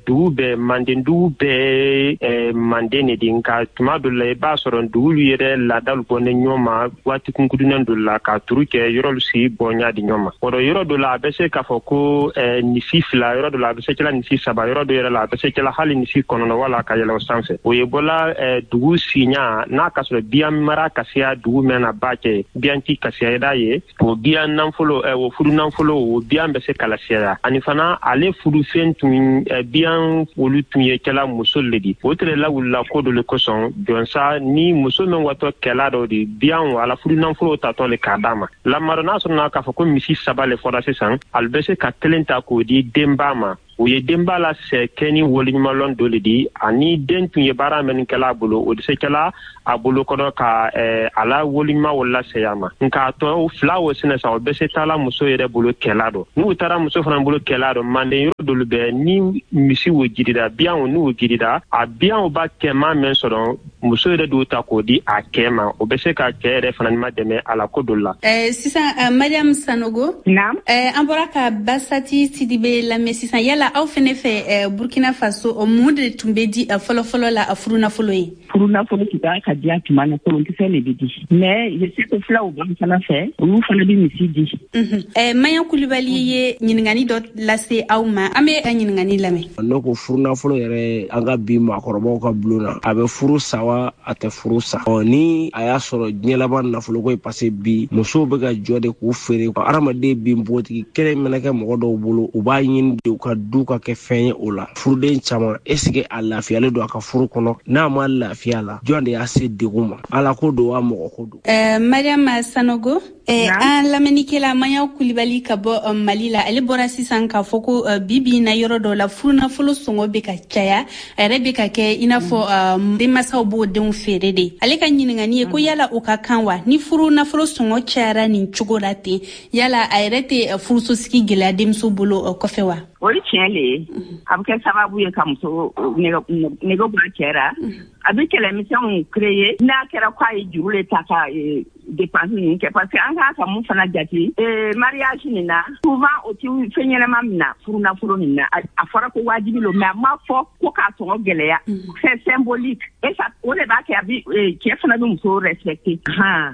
dugu bɛɛ, manden dugu bɛɛ manden ne di, nka tuma dɔ la i b'a sɔrɔ dugulu yɛrɛ laadalu bɔnen ɲɔgɔn ma waati kunkurunin dɔ la ka turu kɛ yɔrɔlu si bɔnya di ɲɔgɔn ma. O dɔ yɔrɔ dɔ la a bɛ se k'a fɔ ko nisi 2, yɔrɔ dɔ la a bɛ se kɛla nisi 3, yɔrɔ dɔ yɛrɛ la a bɛ se kɛla hali nisi 9 wala ka yɛlɛ o sanfɛ. O ye bɔla dugu siɲa n'a ka sɔrɔ biyan mara ka siya dugu mɛn na ba kɛ biyan ti ka siya da ye, o biyan nafolo o furu nafolo o biyan bɛ se k'a lasiyaya. Ani fana ale furufɛn tun biyan olu tun ye kɛla muso le di. O tɛrɛ lawulila ko dɔ le kosɔn jɔnsa ni muso min watɔ kɛla dɔ di biyan ala furu nafolo tatɔ le k'a d'a ma. Lamadɔ n'a sɔrɔ k'a fɔ ko misi 3 le fɔra sisan, ale bɛ se ka kelen ta k'o di denba ma. O ye denba la sɛ kɛ ni waleɲumanlɔn dɔ le di, ani den tun ye baara min kɛla a bolo, o de se kɛla a bolo kɔrɔ ka a la waleɲuman o lasɛya ma. Nka a tɔ 2 o sɛnɛ sa, o bɛ se taala muso yɛrɛ bolo kɛla dɔ. N'u taara muso fana bolo kɛla dɔ, manden yɔrɔ dɔlu bɛ ni misi wo jirida, biyan o n'u jirida, a biyan o ba kɛma min sɔrɔ, muso yɛrɛ d'o ta k'o di a kɛ ma, o bɛ se ka cɛ yɛrɛ fana ma dɛmɛ a la ko dɔ la. Sisan Mariam Sanogo, an bɔra ka Basati Sidibe lamɛn sisan. Yala aw fɛnɛ fɛ Burkina Faso, mun de tun bɛ di fɔlɔfɔlɔ la furunafolo ye? Furunafolo tun b'a ka diya tuma na, kolonkisɛ de bɛ di, mais je sais que filaw b'an fana fɛ, olu fana bɛ misi di. Maɲan Kulibali ye ɲininkali dɔ lase aw ma, an bɛ ka ɲininkali lamɛn. Ne ko furunafolo yɛrɛ an ka bi maakɔrɔbaw ka bulon na, a bɛ furu sa wa a tɛ furu sa? Ni a y'a sɔrɔ diɲɛ laban nafoloko ye, parce que bi musow bɛ ka jɔ de k'u feere. Hadamaden bi npogotigi kelen mana kɛ mɔgɔ dɔw bolo, u b'a ɲini de u ka du ka kɛ fɛn ye o la. Furuden caman, est ce que a lafiyalen don a ka furu kɔnɔ? N'a ma lafiya la, jɔn de y'a se degun ma? Ala ko don wa mɔgɔ ko don? Mariam Sanogo, an lamɛnnikɛla Maɲan Kulibali ka bɔ Mali la, ale bɔra sisan k'a fɔ ko bi na yɔrɔ dɔ la furunafolo sɔngɔ bɛ ka caya, a yɛrɛ bɛ ka kɛ i n'a fɔ denmansaw b'o denw feere de. Ale ka ɲininkali ye ko yala o ka kan wa? Ni furunafolo sɔngɔ cayara nin cogo la ten, yala a yɛrɛ tɛ furusosigi gɛlɛya denmuso bolo kɔfɛ wa? O ye tiɲɛ le ye. A bɛ kɛ sababu ye ka muso nege bɔ a cɛ ra. A bɛ kɛlɛmisɛnw créer n'a kɛra k'a ye juru le ta ka dépense ninnu kɛ, parce que an kan ka mun fana jate mariage nin na, souvent o ti fɛn ɲɛnama min na furunafolo nin na. A fɔra ko wajibi lo, mais a ma fɔ ko k'a sɔngɔ gɛlɛya. C'est symbolique et ça o de b'a kɛ a bi cɛ fana bɛ muso respecter.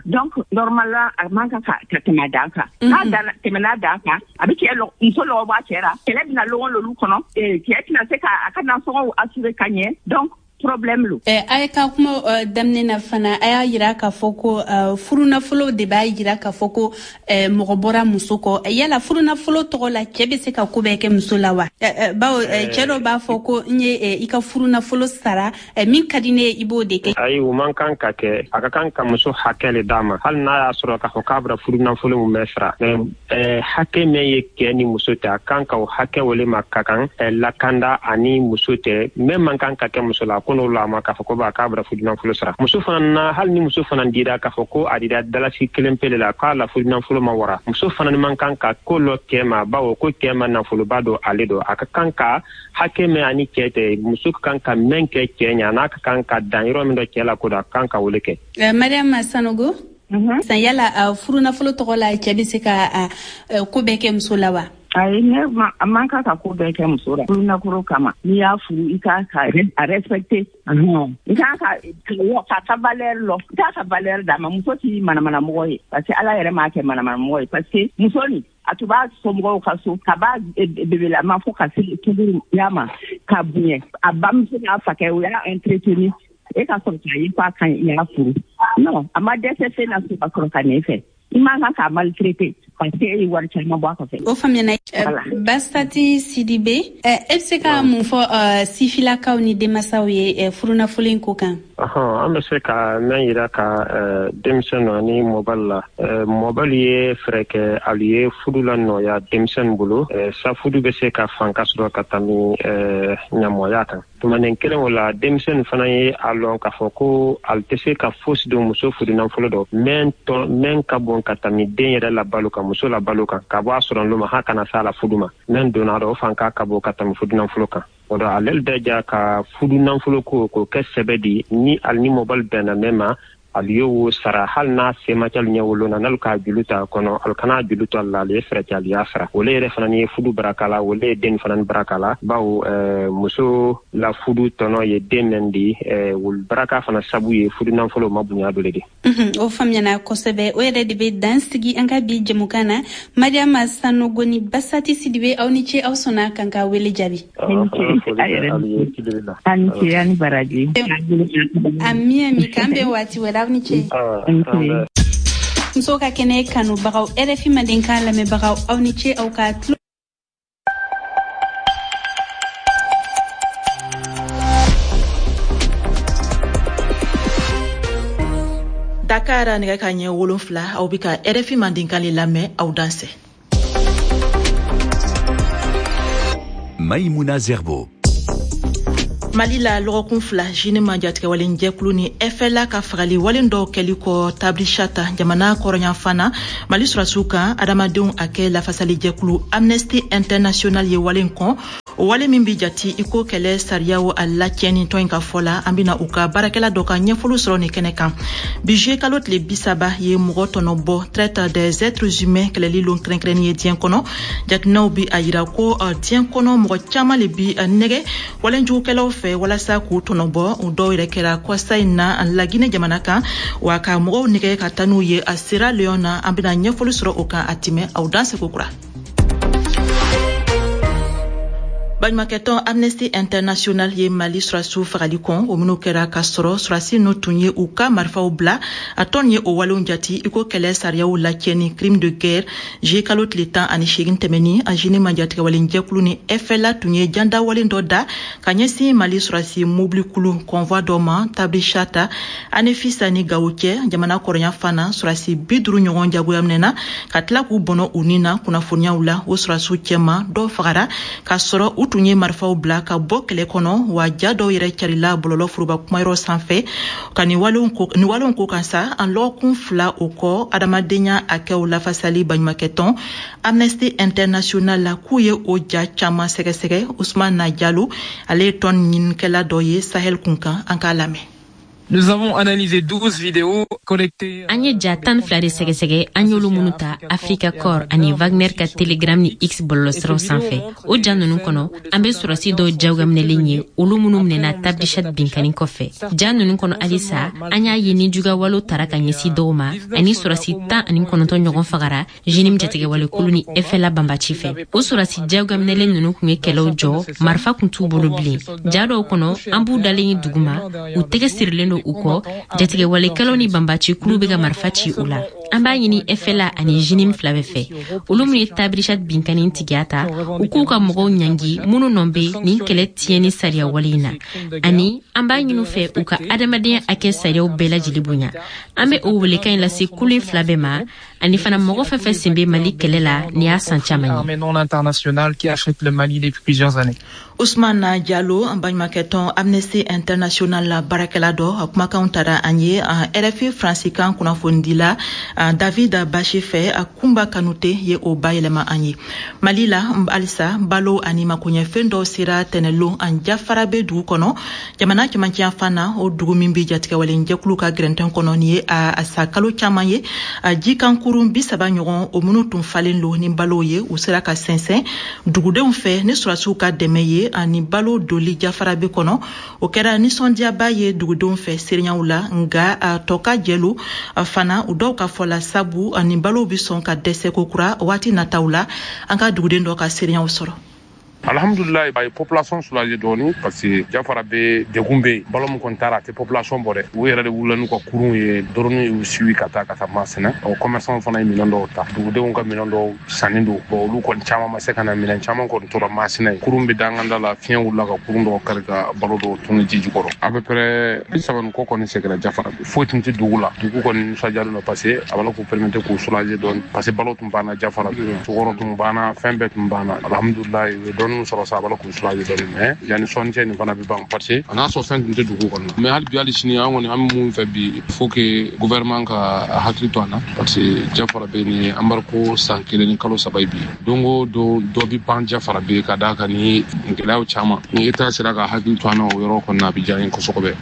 Donc normalement a man kan ka tɛmɛ a dan kan. N'a tɛmɛna a dan kan, a bɛ cɛ muso lɔgɔ bɔ a cɛ ra, kɛlɛ bɛna lɔgɔ l'olu kɔnɔ, cɛ tɛna se ka a ka nasɔngɔw assurer ka ɲɛ. Donc problème lo. A ye ka kuma daminɛ na fana, a y'a yira k'a fɔ ko furunafolo de b'a yira k'a fɔ ko mɔgɔ bɔra muso kɔ. Yala furunafolo tɔgɔ la, cɛ bɛ se ka ko bɛɛ kɛ muso la wa? Bawo cɛ dɔ b'a fɔ ko n ye i ka furunafolo sara, min ka di ne ye i b'o de kɛ. Ayi, o man kan ka kɛ. A ka kan ka muso hakɛ le d'a ma, hali n'a y'a sɔrɔ k'a fɔ k'a bɛna furunafolo mun bɛɛ sara. Mais hakɛ min ye cɛ ni muso tɛ, a kan ka o hakɛ wele ma ka kan lakanda ani muso tɛ. Min man kan ka kɛ muso la, ko n'o la ma k'a fɔ ko ba k'a bɛna furunafolo sara. Muso fana na, hali ni muso fana dira k'a fɔ ko a dira dalasi kelen pele la k'a la furunafolo ma wara, muso fana man kan ka ko lɔ cɛ ma, bawo ko cɛ ma nafoloba don ale don. A ka kan ka hakɛ min ani cɛ tɛ, muso ka kan ka mɛn kɛ cɛ ɲɛ, n'a ka kan ka dan yɔrɔ min dɔ cɛ la ko dɔ, a ka kan ka wele kɛ. Mariam Sanogo, san yala furunafolo tɔgɔ la, cɛ bɛ se ka ko bɛɛ kɛ muso la wa? Ayi, ne a man kan ka ko bɛɛ kɛ muso la furunafolo kama. N'i y'a furu, i kan ka a respecter, i kan ka valeur lɔ, i kan ka valeur d'a ma. Muso t'i manamanamɔgɔ ye, parce que Ala yɛrɛ m'a kɛ manamanamɔgɔ ye, parce que muso nin a tun b'a somɔgɔw ka so ka b'a bebelama fo ka se tuguriya ma ka bonya a bamuso n'a fakɛ, o y'a entretenu. E ka sɔrɔ k'a ye k'a ka ɲi, i y'a furu. Non, a ma dɛsɛ fɛn na so ka sɔrɔ ka n'e fɛ. I man kan k'a maltraiter. Parce que e ye wari caman bɔ a kɔfɛ. O faamuyana. Basati Sidibe, e bɛ se ka mun fɔ sifilakaw ni denmasaw ye furunafolo in ko kan? An bɛ se ka mɛn yira ka denmisɛnnu ani mɔbali la. Mɔbali ye fɛɛrɛ kɛ alu ye fudu la nɔya denmisɛnnu bolo, sa fudu bɛ se ka fanka sɔrɔ ka tami ɲamɔgɔya kan. Tumanin kelen o la, denmisɛnnu fana ye a lɔn k'a fɔ ko ali tɛ se ka fosi don muso fudunafolo dɔ mɛn ka bon ka tami den yɛrɛ la balo kan, muso la balo kan, ka bɔ a sɔrɔ lo ma ha kana s'a la fudu ma. Mɛn donna dɔ o fanka ka bon ka tami fudunafolo kan. O dɔ ale bɛ ja ka fudunafolo ko k'o kɛ sɛbɛ di ni ali ni mɔbali bɛnna mɛn ma, ali ye wo sara, hali n'a se ma kɛ ɲɛ wolo na, n'alu k'a julu ta kɔnɔ, alu kana julu to la, ale ye fɛɛrɛ kɛ ali y'a sara. Ole yɛrɛ fana ni ye fudu baraka la, ole ye den fana ni baraka la, bawo muso la fudu tɔnɔ ye den mɛn di, wolu baraka fana sabu ye fudu nafolo ma bonya dɔ le di. O faamuyana kosɛbɛ. O yɛrɛ de bɛ dan sigi an ka bi jɛmukan na. Mariama Sanogo ni Basati Sidibe, aw ni ce, aw sɔnna k'an ka wele jaabi. Ani ce, ani baraji. Ami ami, k'an bɛn waati wɛrɛ, aw ni ce. Musow ka kɛnɛ kanubagaw, RFI Mandenkan lamɛnbagaw, aw ni ce aw ka tulo. Dakar nɛgɛ ka ɲɛ 7, aw bɛ ka RFI Mandenkan le lamɛn, aw dansɛ. Maïmouna Zerbo. Mali la, lɔgɔkun 2 JNIM jatigɛwalen jɛkulu ni FLA ka fagali walen dɔw kɛli kɔ Tabrichat jamana kɔrɔnyanfan na Mali sɔrɔsiw kan, adamadenw hakɛ lafasali jɛkulu Amnesty International ye walen kɔn, o wale min bi jati i ko kɛlɛ sariyaw a lacɛnni. Tɔn in ka fɔ la, an bena u ka baarakɛla dɔ ka ɲɛfɔliw sɔrɔ nin kɛnɛ kan. Bi juillet kalo tile 30 ye mɔgɔ tɔnɔ bɔ, traite des êtres humains kɛlɛli lon kɛrɛnkɛrɛnni ye diɲɛ kɔnɔ. Jateminɛw bi a yira ko diɲɛ kɔnɔ mɔgɔ caman le bi nɛgɛ walejugukɛlaw fɛ walasa k'u tɔnɔ bɔ. U dɔw yɛrɛ kɛra kɔsa in na Laginɛ jamana kan, wa ka mɔgɔw nɛgɛ ka taa n'u ye a Sierra Leone na. An bena ɲɛfɔli sɔrɔ o kan a tɛmɛ. Aw dan seko kura. Baɲumakɛtɔn Amnesty International ye Mali sɔrɔsiw fagali kɔn, o minnu kɛra k'a sɔrɔ sɔrɔsi ninnu tun ye u ka marifaw bila. A tɔn ye o walenw jati i ko kɛlɛ sariyaw lacɛni, crime de guerre. Juillet kalo tile 18 tɛmɛni, a JNIM jatigɛwalen jɛkulu ni FLA tun ye jandawalen dɔ da ka ɲɛsin Mali sɔrɔsi mobilikulu convoi dɔ ma Tabrichat, Anefisa ni Gawo cɛ, jamana kɔrɔnya fana. Sɔrɔsi 50 ɲɔgɔn jagoya minɛna ka tila k'u bɔnɔ u ni na. Kunnafoniyaw la, o sɔrɔsiw cɛma dɔw fagara k'a sɔrɔ u tun ye marifaw bila ka bɔ kɛlɛ kɔnɔ, wa ja dɔw yɛrɛ carila bɔlɔlɔ foroba kumayɔrɔ sanfɛ ka nin walenw ko kan sa. An lɔgɔkun 2 o kɔ, adamadenya hakɛw lafasali baɲumakɛtɔn Amnesty International la k'u ye o ja caman sɛgɛsɛgɛ. Usman Jalo, ale ye tɔn ɲinikɛla dɔ ye Sahel kunkan, an k'a lamɛn. Nous avons analysé 12 vidéos collectées. An ye ja 12 de sɛgɛsɛgɛ, an y'olu minnu ta Africa Corps ani Wagner ka Telegram ni X bɔlɔlɔsiraw sanfɛ. O ja ninnu kɔnɔ, an be sɔrɔsi dɔw jagoyaminɛlen ye, olu minnu minɛna Tabrichat binkani kɔfɛ. Ja ninnu kɔnɔ halisa, an y'a ye ni jugawalew tara ka ɲɛsin dɔw ma, ani sɔrɔsi 19 ɲɔgɔn fagara JNIM jatigɛwalekulu ni FLA banbaci fɛ. O sɔrɔsi jagoyaminɛlen ninnu kun ye kɛlɛw jɔ, marifa kun t'u bolo bilen. Ja dɔw kɔnɔ, an b'u dalen ye duguma, u tɛgɛ sirilen don u kɔ, jatigɛwalekɛlaw ni banbaci kulu bɛ ka marifa ci u la. An b'a ɲini FLA ani JNIM fila bɛɛ fɛ, olu minnu ye Tabrichat binkani tigiya ta, u k'u ka mɔgɔw ɲangi minnu nɔ bɛ nin kɛlɛ tiɲɛni sariya wale in na, ani an b'a ɲini u fɛ u ka adamadenya hakɛ sariyaw bɛɛ lajɛlen bonya. An bɛ o welekan in lase kulu in fila bɛɛ ma, ani fana mɔgɔ fɛn fɛn sen bɛ Mali kɛlɛ la nin y'a san caman ye. Armée non internationale qui achète le Mali depuis plusieurs années. Ousmane Diallo, an baɲumakɛtɔn Amnesty International la baarakɛla dɔ, a kumakanw tara an ye RFI faransikan kunnafonidila David Bachi fɛ, a Kunba Kanute ye o bayɛlɛma an ye. Mali la halisa, balo ani makoɲɛfɛn dɔw sera tɛnɛlon an Jafarabe dugu kɔnɔ, jamana cɛmancɛ fan na, o dugu min bɛ jatigɛwalen jɛkulu ka gɛrɛntɛn kɔnɔ. Nin ye a sa kalo caman ye. A jikankurun 30 ɲɔgɔn, o minnu tun falen don ni balow ye, u sera ka sɛnsɛn dugudenw fɛ ni sɔrɔsiw ka dɛmɛ ye ani balo doli Jafarabe kɔnɔ. O kɛra nisɔndiyaba ye dugudenw fɛ seereyaw la, nka a tɔ ka jɛlu fana, u dɔw ka fɔ la, sabu ani balow bɛ sɔn ka dɛsɛ ko kura waati nataw la. An ka duguden dɔ ka seereyaw sɔrɔ. Alhamdulilayi, a ye population soulager dɔɔni, parce que Diafarabé degun bɛ yen. Balo min kɔni taara, a tɛ population bɔ dɛ. U yɛrɛ de wulila n'u ka kurun ye, drone y'u suivi ka taa Masina. O commerçant fana ye minɛn dɔw ta, dugudenw ka minɛn dɔw sanni don. Bon, olu kɔni caman ma se ka na, minɛn caman kɔni tora Masina ye. Kurun bɛ danganda la, fiɲɛ wulila ka kurun dɔw kari ka balo dɔw tunu ji jukɔrɔ. À peu près 30 ni kɔ kɔni seginna Diafarabé. Foyi tun tɛ dugu la. Dugu kɔni nisɔndiyalen don, parce que a b'a la k'u permettre k'u soulager dɔɔni, parce que balo tun banna Diafarabé, sukaro tun banna, fɛn bɛɛ tun banna. Alhamdulilayi, u ye dɔɔni sɔrɔ sa, a b'a la k'u soulager dɔɔni, mais yanni sɔnni cɛ nin fana bɛ ban, parce que a n'a sɔrɔ fɛn tun tɛ dugu kɔnɔ. Mais hali bi, hali sini, an kɔni, an bɛ mun fɛ bi, il faut que gouvernement ka hakili to an na, parce que Diafarabé ni embargo san 1 ni kalo 3 ye bi. Don o don, dɔ bɛ ban Diafarabé ka d'a kan ni gɛlɛyaw caman. Ni État sera ka hakili to an na o yɔrɔ kɔni na, a bɛ diya n ye kosɛbɛ.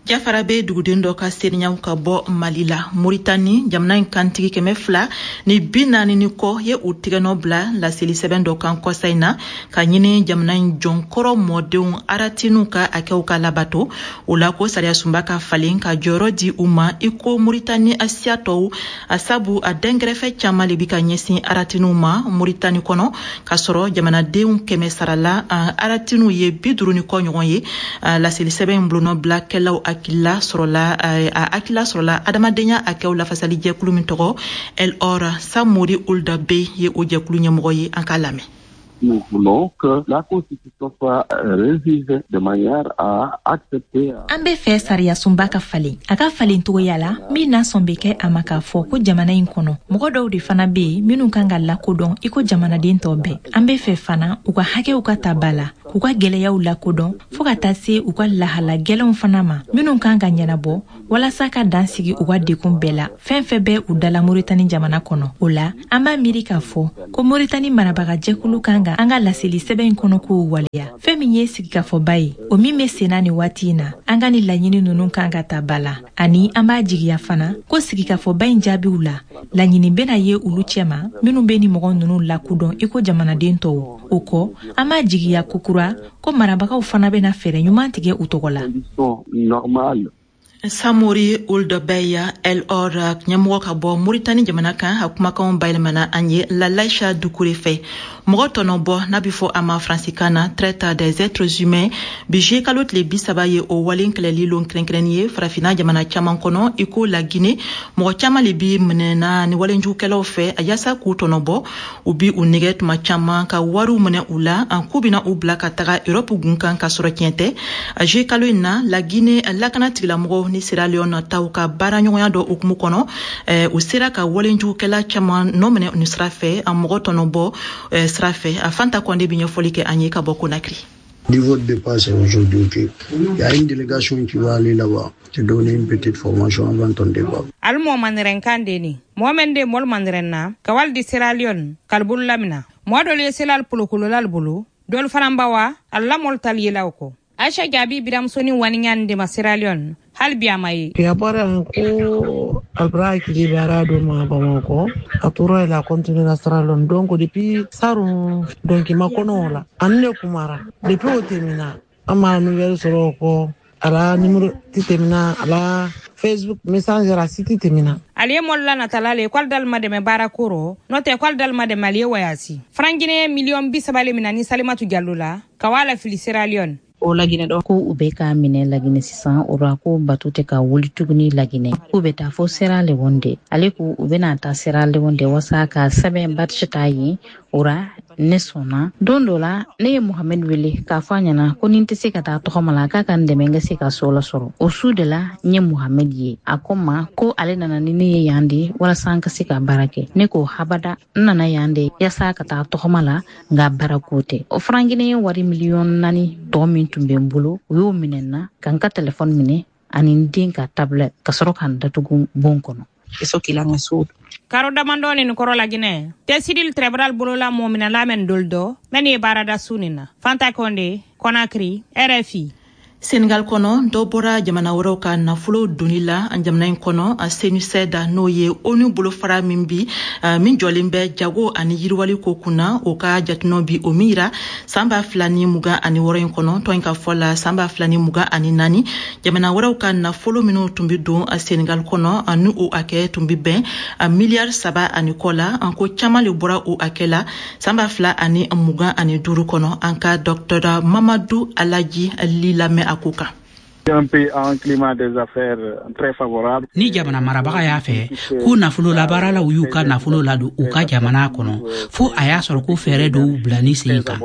Diafarabé duguden dɔ ka seriɲaw ka bɔ Mali la Moritani, jamana in kantigi 240 ni kɔ ye u tigɛnɔ bila laseli sɛbɛn dɔ kan kɔsa in na, ka ɲini jamana in jɔnkɔrɔ mɔdenw aratiniw ka hakɛw ka labato. O la ko sariyasunba ka falen ka jɔyɔrɔ di u ma i ko Moritani siya tɔw, a sabu a dɛnkɛrɛfɛ caman le bi ka ɲɛsin aratiniw ma Moritani kɔnɔ, k'a sɔrɔ jamanadenw 100 sarala, aratiniw ye 50 ni kɔ ɲɔgɔn ye. Laseli sɛbɛn in bolonɔ bilakɛlaw hakilila sɔrɔla, a hakilila sɔrɔla adamadenya hakɛw lafasali jɛkulu min tɔgɔ El Or. Samori Ould Bey ye o jɛkulu ɲɛmɔgɔ ye, an k'a lamɛn. Nous voulons que la Constitution soit révisée de manière à accepter. An bɛ fɛ sariyasunba ka falen, a ka falen cogoya la min n'a sɔn bɛ kɛ a ma k'a fɔ ko jamana in kɔnɔ, mɔgɔ dɔw de fana bɛ yen minnu kan ka lakodɔn i ko jamanaden tɔ bɛɛ. An bɛ fɛ fana u ka hakɛw ka ta ba la, k'u ka gwɛlɛyaw lakodɔn, fɔɔ ka taa se u ka lahala gwɛlɛnw fana ma minnu kan ka ɲɛnabɔ, walasa ka dan sigi u ka dekun bɛɛ la, fɛn fɛn bɛ u dala Moritani jamana kɔnɔ. O la, an b'a miiri k'a fɔ ko Moritani marabaga jɛkulu kan ka an ka laseli sɛbɛn in kɔnɔ k'o waleya. Fɛn min ye sigikafɔba ye, o min bɛ senna nin waati in na, an ka nin laɲini ninnu kan ka ta ba la. Ani an b'a jigiya fana ko sigikafɔba in jaabiw la, laɲini bɛna ye olu cɛma minnu bɛ ni mɔgɔ ninnu lakodɔn i ko jamanaden tɔw. O kɔ, an b'a jigiya kokura ko marabagaw fana bɛna fɛɛrɛ ɲuman tigɛ u tɔgɔ la. Samori Ould Bey, El Or ɲɛmɔgɔ ka bɔ Moritani jamana kan, a kumakanw bayɛlɛmana an ye Lalaisha Dukure fɛ. Mɔgɔ tɔnɔbɔ n'a bɛ fɔ a ma faransikan na traite des êtres humains, bi juillet kalo tile 30 ye o wale kɛlɛli lon kɛrɛnkɛrɛnni ye Farafinna jamana caman kɔnɔ i ko La Guinée. Mɔgɔ caman le bi minɛna ni walejugukɛlaw fɛ a yaasa k'u tɔnɔbɔ. U bi u nɛgɛ tuma caman ka wariw minɛ u la, k'u bɛna u bila ka taga Europe gun kan, ka sɔrɔ tiɲɛ tɛ. Juillet kalo in na, La Guinée lakana tigilamɔgɔw ni Sierra Leone taw ka baara ɲɔgɔnya dɔ hukumu kɔnɔ, u sera ka walejugukɛla caman nɔ minɛ nin sira fɛ, a mɔgɔ tɔnɔbɔ sira fɛ. A Fanta Kɔnde bɛ ɲɛfɔli kɛ an ye ka bɔ Conakry. Niveau de départ, c'est aujourd'hui. Ok. Il y a une délégation qui va aller là-bas, te donner une petite formation avant ton départ. Ali mɔ mandiren kan de ni mɔgɔ men de mɔlu mandiren na ka wali di Sierra Leone kalibolu lamina. Mɔgɔ dɔlu ye selal polokololal bolo, dɔlu fana bawa al la mɔlu tal yelaw kɔ. Aisha Jaabi biramusoni waniɲani de ma Sierra Leone, hali bi a ma ye. A bɔra yan ko albra hakili bɛ ara do ma Bamakɔ, a tora la continuer la Sierra Leone. Donc depuis sarun, donc ma kɔnɔ o la ani ne kumara. Depuis o tɛmɛna, an ma nouvelle sɔrɔ o kɔ. A la numéro ti tɛmɛna, a la Facebook Messenger a si ti tɛmɛna. Ali ye mɔlu la natala le k'ale dali ma dɛmɛ baara ko rɔ, n'o tɛ k'ale dali ma dɛmɛ ali ye wayasi. Franc guinéen miliyɔn 30 le mina ni Salimatu Jalo la ka wa la fili Sierra Leone. O Laginɛ dɔ ko u bɛ k'a minɛ Laginɛ sisan. O ra ko bato tɛ ka wuli tuguni Laginɛ, k'u bɛ taa fo Sierra Leone de. Ale ko u bɛna taa Sierra Leone de wasa ka sɛbɛn badge ta yen. O ra ne sɔnna. Don dɔ la, ne ye Mohamɛd wele k'a fɔ a ɲɛna ko ni n tɛ se ka taa tɔgɔma la, k'a ka n dɛmɛ n ka se ka so lasɔrɔ. O su de la, n ye Mohamɛd ye. A ko n ma ko ale nana ni ne ye yan de walasa an ka se ka baara kɛ. Ne ko habada, n nana yan de yaasa ka taa tɔgɔma la, nka baara ko tɛ. O franc guinéen wari miliyɔn 4 tɔ min tun bɛ n bolo, u y'o minɛ n na, ka n ka telefɔni minɛ ani n den ka tablette, ka sɔrɔ ka n datugu bon kɔnɔ. Karo damandɔ nin kɔrɔ Laginɛ tɛsidil tribunal bolola mɔ minɛla mɛn dol dɔ mɛn ye baarada su nin na. Fanta Konde, Conakry, RFI. Senegal kɔnɔ, dɔ bɔra jamana wɛrɛw ka nafolo doni la jamana in kɔnɔ. CNUCED, n'o ye ONU bolofara min bi min jɔlen bɛ jago ani yiriwali ko kunna, o ka jatinɔ bi o min yira san 2026 in kɔnɔ, tɔn in ka fɔ la, san 2024, jamana wɛrɛw ka nafolo minnu tun bi don Senegal kɔnɔ, ni o hakɛ tun bi bɛn miliyari 3 1/2 la, ko caman le bɔra o hakɛ la san 2025 kɔnɔ. An ka docteur Mamadu Alaji Li lamɛn a ko kan. Un pays a un climat des affaires très favorable. Ni jamana marabaga y'a fɛ ko nafolo labaaralaw y'u ka nafolo ladon u ka jamana kɔnɔ, fo a y'a sɔrɔ ko fɛɛrɛ dɔw bila ni sen kan,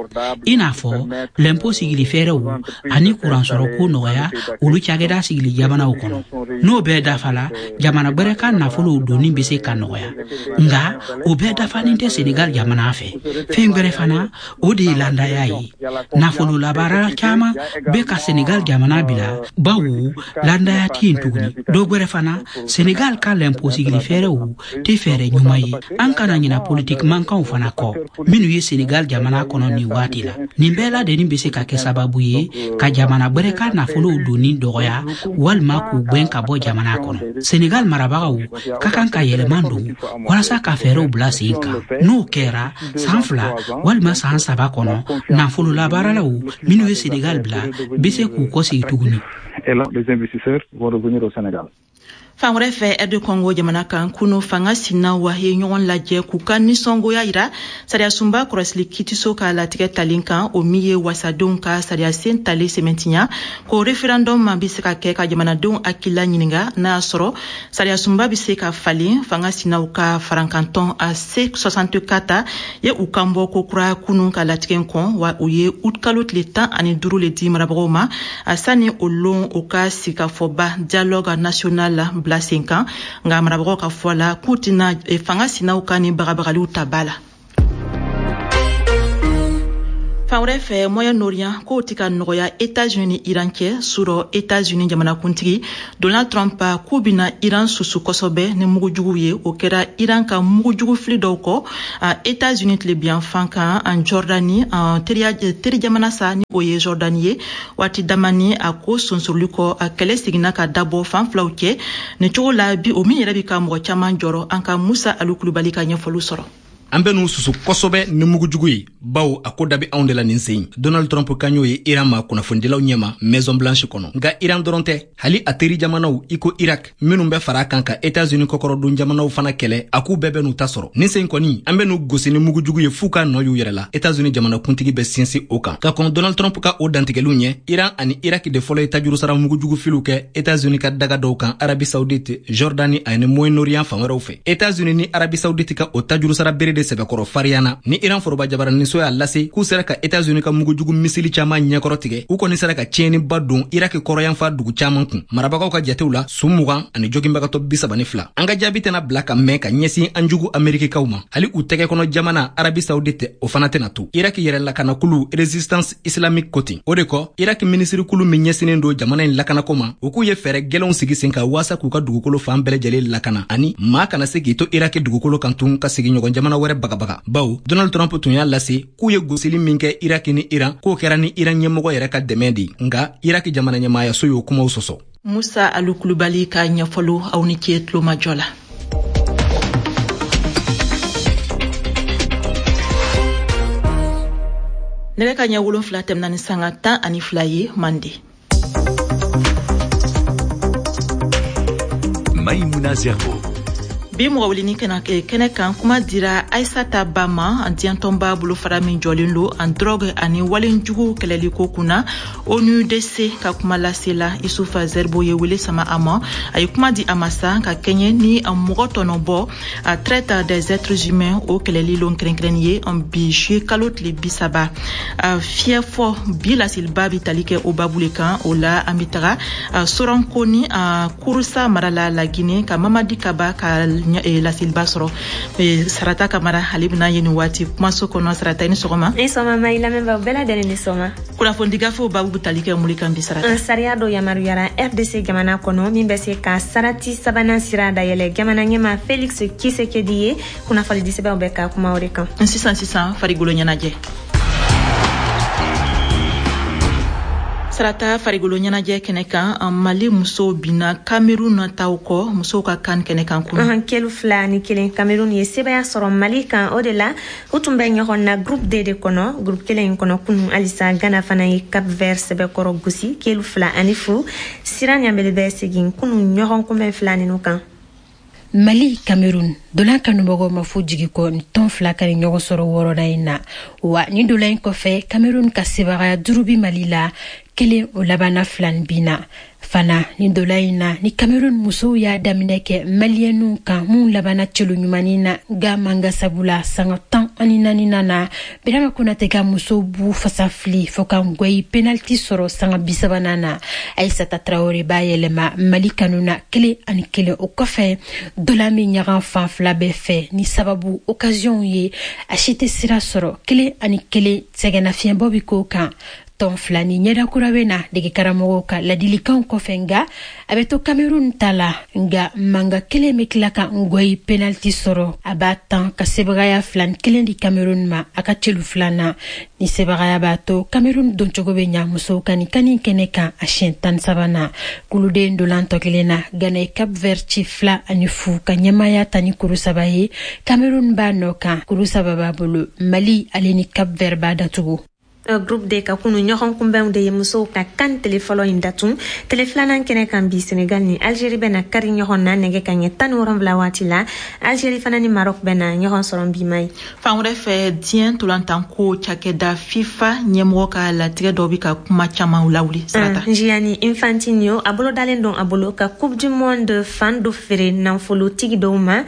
i n'a fɔ lɛnpo sigili fɛɛrɛw ani kuransɔrɔ ko nɔgɔya olu cakɛda sigili jamanaw kɔnɔ. N'o bɛɛ dafala, jamana gwɛrɛ ka nafolow donni bɛ se ka nɔgɔya. Nga o bɛɛ dafanin tɛ Senegal jamana fɛ. Fɛn gwɛrɛ fana, o de ye landaya ye. Nafolo labaarala caman bɛ ka Senegal jamana bila, bawo landaya tɛ yen tuguni. Dɔ gwɛrɛ fana, Senegal ka lɛnpo sigili fɛɛrɛw tɛ fɛɛrɛ ɲuman ye. An kana ɲina politiki mankanw fana kɔ minnu ye Senegal jamana kɔnɔ nin waati la. Nin bɛɛ ladɛnni bɛ se ka kɛ sababu ye ka jamana gwɛrɛ ka nafolow donni dɔgɔya walima k'u gwɛn ka bɔ jamana kɔnɔ. Senegal marabagaw ka kan ka yɛlɛma don walasa ka fɛɛrɛw bila sen kan. N'o kɛra, san 2 walima san 3 kɔnɔ, nafolo labaaralaw minnu ye Senegal bila bɛ se k'u kɔsegi tuguni. Et là, les investisseurs vont revenir au Sénégal. Fan wɛrɛ fɛ, RD Congo jamana kan, kunu fanga sinaw ye ɲɔgɔn lajɛ k'u ka nisɔngoya yira sariyasunba kɔrɔsili kitiso ka latigɛ talen kan, o min ye wasadenw ka sariyasen talen sɛmɛntiya ko référendum ma bɛ se ka kɛ ka jamanadenw hakilila ɲininga n'a y'a sɔrɔ sariyasunba bɛ se ka falen. Fanga sinaw ka farankantɔn a C64 ye u kan bɔ ko kura kunu ka latigɛ kɔn, wa u ye utikalo tile 15 le di marabagaw ma a sani o lon o ka sigikafɔba dialogue national bila sen kan. Nka marabagaw ka fɔ la k'u tɛna fanga sinaw ka ni bagabagaliw ta ba la. Fan wɛrɛ fɛ, Moyen-Orient kow tɛ ka nɔgɔya Etats-Unis ni Iran cɛ. Surɔ, Etats-Unis jamanakuntigi Donald Trump k'u bɛna Iran susu kosɛbɛ ni mugujuguw ye. O kɛra Iran ka mugujugu fili dɔw kɔ Etats-Unis tilebiyanfan kan an Jordani teri jamana sa, ni o ye Jordani ye. Waati damani a ko sonsoroli kɔ, a kɛlɛ seginna ka dabɔ fan filaw cɛ nin cogo la bi, o min yɛrɛ bi ka mɔgɔ caman jɔrɔ. An ka Musa Alu Kulubali ka ɲɛfɔliw sɔrɔ. An bɛ n'u susu kosɛbɛ ni mugujugu ye, bawo a ko da bɛ anw de la nin sen. Donald Trump kan y'o ye Iran ma kunnafonidilaw ɲɛma Maison Blanche kɔnɔ. Nka Iran dɔrɔn tɛ, hali a teri jamanaw i ko Irak minnu bɛ fara a kan ka Etats-Unis kɔkɔrɔdon jamanaw fana kɛlɛ, a k'u bɛɛ bɛ n'u ta sɔrɔ nin sen kɔni. An bɛ n'u gosi ni mugujugu ye f'u ka nɔ y'u yɛrɛ la, Etats-Unis jamanakuntigi bɛ sinsin o kan. Ka kɔn Donald Trump ka o dantigɛliw ɲɛ, Iran ani Irak de fɔlɔ ye tajurusara mugujugu filiw kɛ Etats-Unis ka daga dɔw kan Arabie Saoudite, Jordanie ani Moyen-Orient fan wɛrɛw fɛ. Etats-Unis ni Arabie Saoudite ka o tajurusara bere de sɛbɛkɔrɔ fariyana ni Iran foroba jabaraniso y'a lase k'u sera ka Etats-Unis ka mugujugu missile caman ɲɛkɔrɔ tigɛ. U kɔni sera ka tiɲɛniba don Irak kɔrɔyanfa dugu caman kun. Marabagaw ka jatew la, su 20 ani joginbagatɔ 32. An ka jaabi tɛna bila ka mɛn ka ɲɛsin an jugu Amerikikaw ma. Hali u tɛgɛ kɔnɔ jamana Arabie Saoudite, o fana tɛna to. Irak yɛrɛ lakanakulu Résistance islamique ko ten. O de kɔ, Irak minisirikulu min ɲɛsinnen don jamana in lakanako ma, u k'u ye fɛɛrɛ gwɛlɛnw sigi sen kan waasa k'u ka dugukolo fan bɛɛ lajɛlen lakana, ani maa kana se k'i to Irak dugukolo kan tun ka sigiɲɔgɔn jamana wɛrɛ bagabaga, bawo Donald Trump tun y'a lase k'u ye gosili min kɛ Irak ni Iran, k'o kɛra ni Iran ɲɛmɔgɔ yɛrɛ ka dɛmɛ de. Nka Irak jamana ɲɛmayaso y'o kumaw sɔsɔ. Musa Alu Kulubali ka ɲɛfɔliw. Aw ni ce tulomajɔ la. Nɛgɛ ka ɲɛ 7 tɛmɛna ni sanga 12 ye mande. Maïmouna Zerbo. Bi mɔgɔ weleni kɛnɛ kan, kuma dira Aisata Ba ma, diɲɛtɔnba bolofara min jɔlen lo an drogue ani walenjugu kɛlɛli ko kunna, ONUDC ka kuma lasela Isufa Zerbo ye wele sama a ma. A ye kuma di a ma sa ka kɛɲɛ ni mɔgɔ tɔnɔbɔ, a traite des êtres humains, o kɛlɛli lon kɛrɛnkɛrɛnni ye bi juillet kalo tile 30. Fiyɛ fɔ bi laseliba bi tali kɛ o babu le kan. O la, an bi taga Sorankoni, Kurusa mara la, Laginɛ, ka Mamadi Kaba ka laseliba sɔrɔ. Sarata Kamara, ale bɛna ye nin waati kumaso kɔnɔ. Sarata, i ni sɔgɔma. Ni sɔgɔma, ma i lamɛnbaaw bɛɛ lajɛlen ni sɔgɔma. Kunnafoni gafew babu bɛ tali kɛ mun kan bi, Sarata? Sariya dɔ yamaruyara RDC jamana kɔnɔ min bɛ se ka sarati sabanan sira dayɛlɛ jamana ɲɛma Felix Tshisekedi ye. Kunnafoni disɛbɛnw bɛ ka kuma o de kan. Sisan sisan, farikolo ɲɛnajɛ. Sarata, farigolo ɲɛnajɛ kɛnɛ kan, Mali musow binna Cameroun taw kɔ musow ka CAN kɛnɛ kan kunun, 2-1. Cameroun ye sebaya sɔrɔ Mali kan. O de la, u tun bɛ ɲɔgɔn na groupe D de kɔnɔ. Groupe kelen in kɔnɔ kunun halisa, Ghana fana ye Cap Vert sɛbɛkɔrɔ gosi 2-0. Sira Ɲanbele bɛ segin kunun ɲɔgɔn kunbɛn fila ninu kan. Mali, Cameroun, dolan kanubagaw ma fo jigi kɔ ni tɔn fila ka ni ɲɔgɔn sɔrɔ wɔɔrɔnan in na wa. Ni dolan in kɔfɛ, Cameroun ka sebagaya 5 bi Mali la, kelen o labanna fila ni bin na fana. Ni dola in na, ni Cameroun musow y'a daminɛ kɛ Maliyɛnw kan, mun labanna celo ɲumanin na, nga manga sabula sanga 14nan na, Birama Konate ka musow b'u fasa fili fɔɔ ka ngɔyi penalty sɔrɔ. Sanga 30nan na, Aisata Traore b'a yɛlɛma Mali kanu na, 1-1. O kɔfɛ, dola min ɲagan fan fila bɛɛ fɛ ni sababu occasion ye, a si tɛ sira sɔrɔ, 1-1. Sɛgɛnnafiɲɛbɔ bi k'o kan. Tɔn fila ni ɲɛda kura bɛ na dege karamɔgɔw ka ladilikanw kɔfɛ, nga a bɛ to Cameroun ta la. Nga manga kelen bɛ tila ka ngɔyi penalty sɔrɔ, a b'a tan ka sebagaya 2-1 di Cameroun ma, a ka celu filanan. Ni sebagaya b'a to Cameroun doncogo bɛ ɲa musow ka nin kani kɛnɛ kan a siɲɛ 13nan. Kuluden dolan tɔ kelen na, Ghana ye Cap Vert ci 2-0 ka ɲɛmaya ta ni kuru 3 ye. Cameroun b'a nɔ kan, kuru 3 b'a bolo. Mali ale ni Cap Vert b'a datugu. Groupe D ka kunu ɲɔgɔn kunbɛnw de ye musow ka CAN tele fɔlɔ in datun. Tele filanan kɛnɛ kan bi, Senegal ni Algérie bɛna kari ɲɔgɔn na nɛgɛ ka ɲɛ 17 waati la. Algérie fana ni Maroc bɛna ɲɔgɔn sɔrɔ bi ma ye. Fan wɛrɛ fɛ, diɲɛ tolantanko cakɛda FIFA ɲɛmɔgɔ ka latigɛ dɔ bɛ ka kuma caman lawuli, Sarata. Gianni Infantino a bolo dalen don a bolo ka Coupe du Monde fan dɔ feere nafolotigi dɔw ma,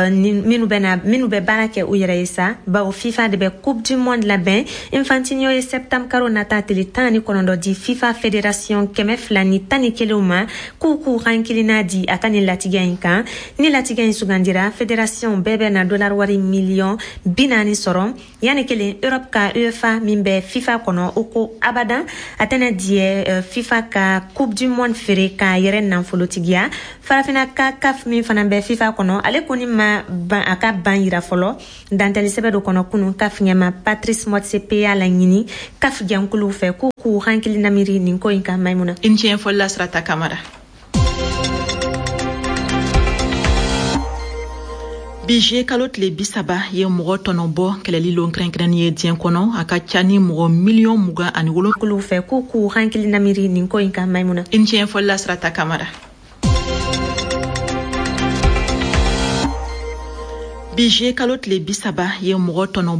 minnu bɛ baara kɛ u yɛrɛ ye sa, bawo FIFA de bɛ Coupe du Monde labɛn. Infantino ye septembre karo nata tele 19 di FIFA fédération 211 ma k'u k'u hankilina di a ka nin latigɛ in kan. Ni latigɛ in sugandira, fédération bɛɛ bɛ na dollar wari miliyɔn 40 sɔrɔ. Yanni kelen, Europe ka UEFA min bɛ FIFA kɔnɔ, o ko abadan a tɛna diɲɛ FIFA ka Coupe du Monde feere k'a yɛrɛ nafolotigiya. Farafina ka CAF min fana bɛ FIFA kɔnɔ, ale kɔni ma ban a ka ban yira fɔlɔ. Dantɛli sɛbɛ dɔ kɔnɔ kunun, CAF ɲɛma Patrice Motsepe y'a laɲini CAF jɛnkuluw fɛ k'u k'u hankili namiri nin ko in kan. Maimuna. I ni ce ɲɛfɔli la, Sarata Kamara. Bi juillet kalo tile 30 ye mɔgɔ tɔnɔbɔ kɛlɛli lon kɛrɛnkɛrɛnni ye diɲɛ kɔnɔ. A ka ca ni mɔgɔ miliyɔn 27 kuluw fɛ k'u k'u hankili namiri nin ko in kan. Maimuna. I ni ce ɲɛfɔli la, Sarata Kamara. Bi juillet kalo tile 30 ye mɔgɔ tɔnɔ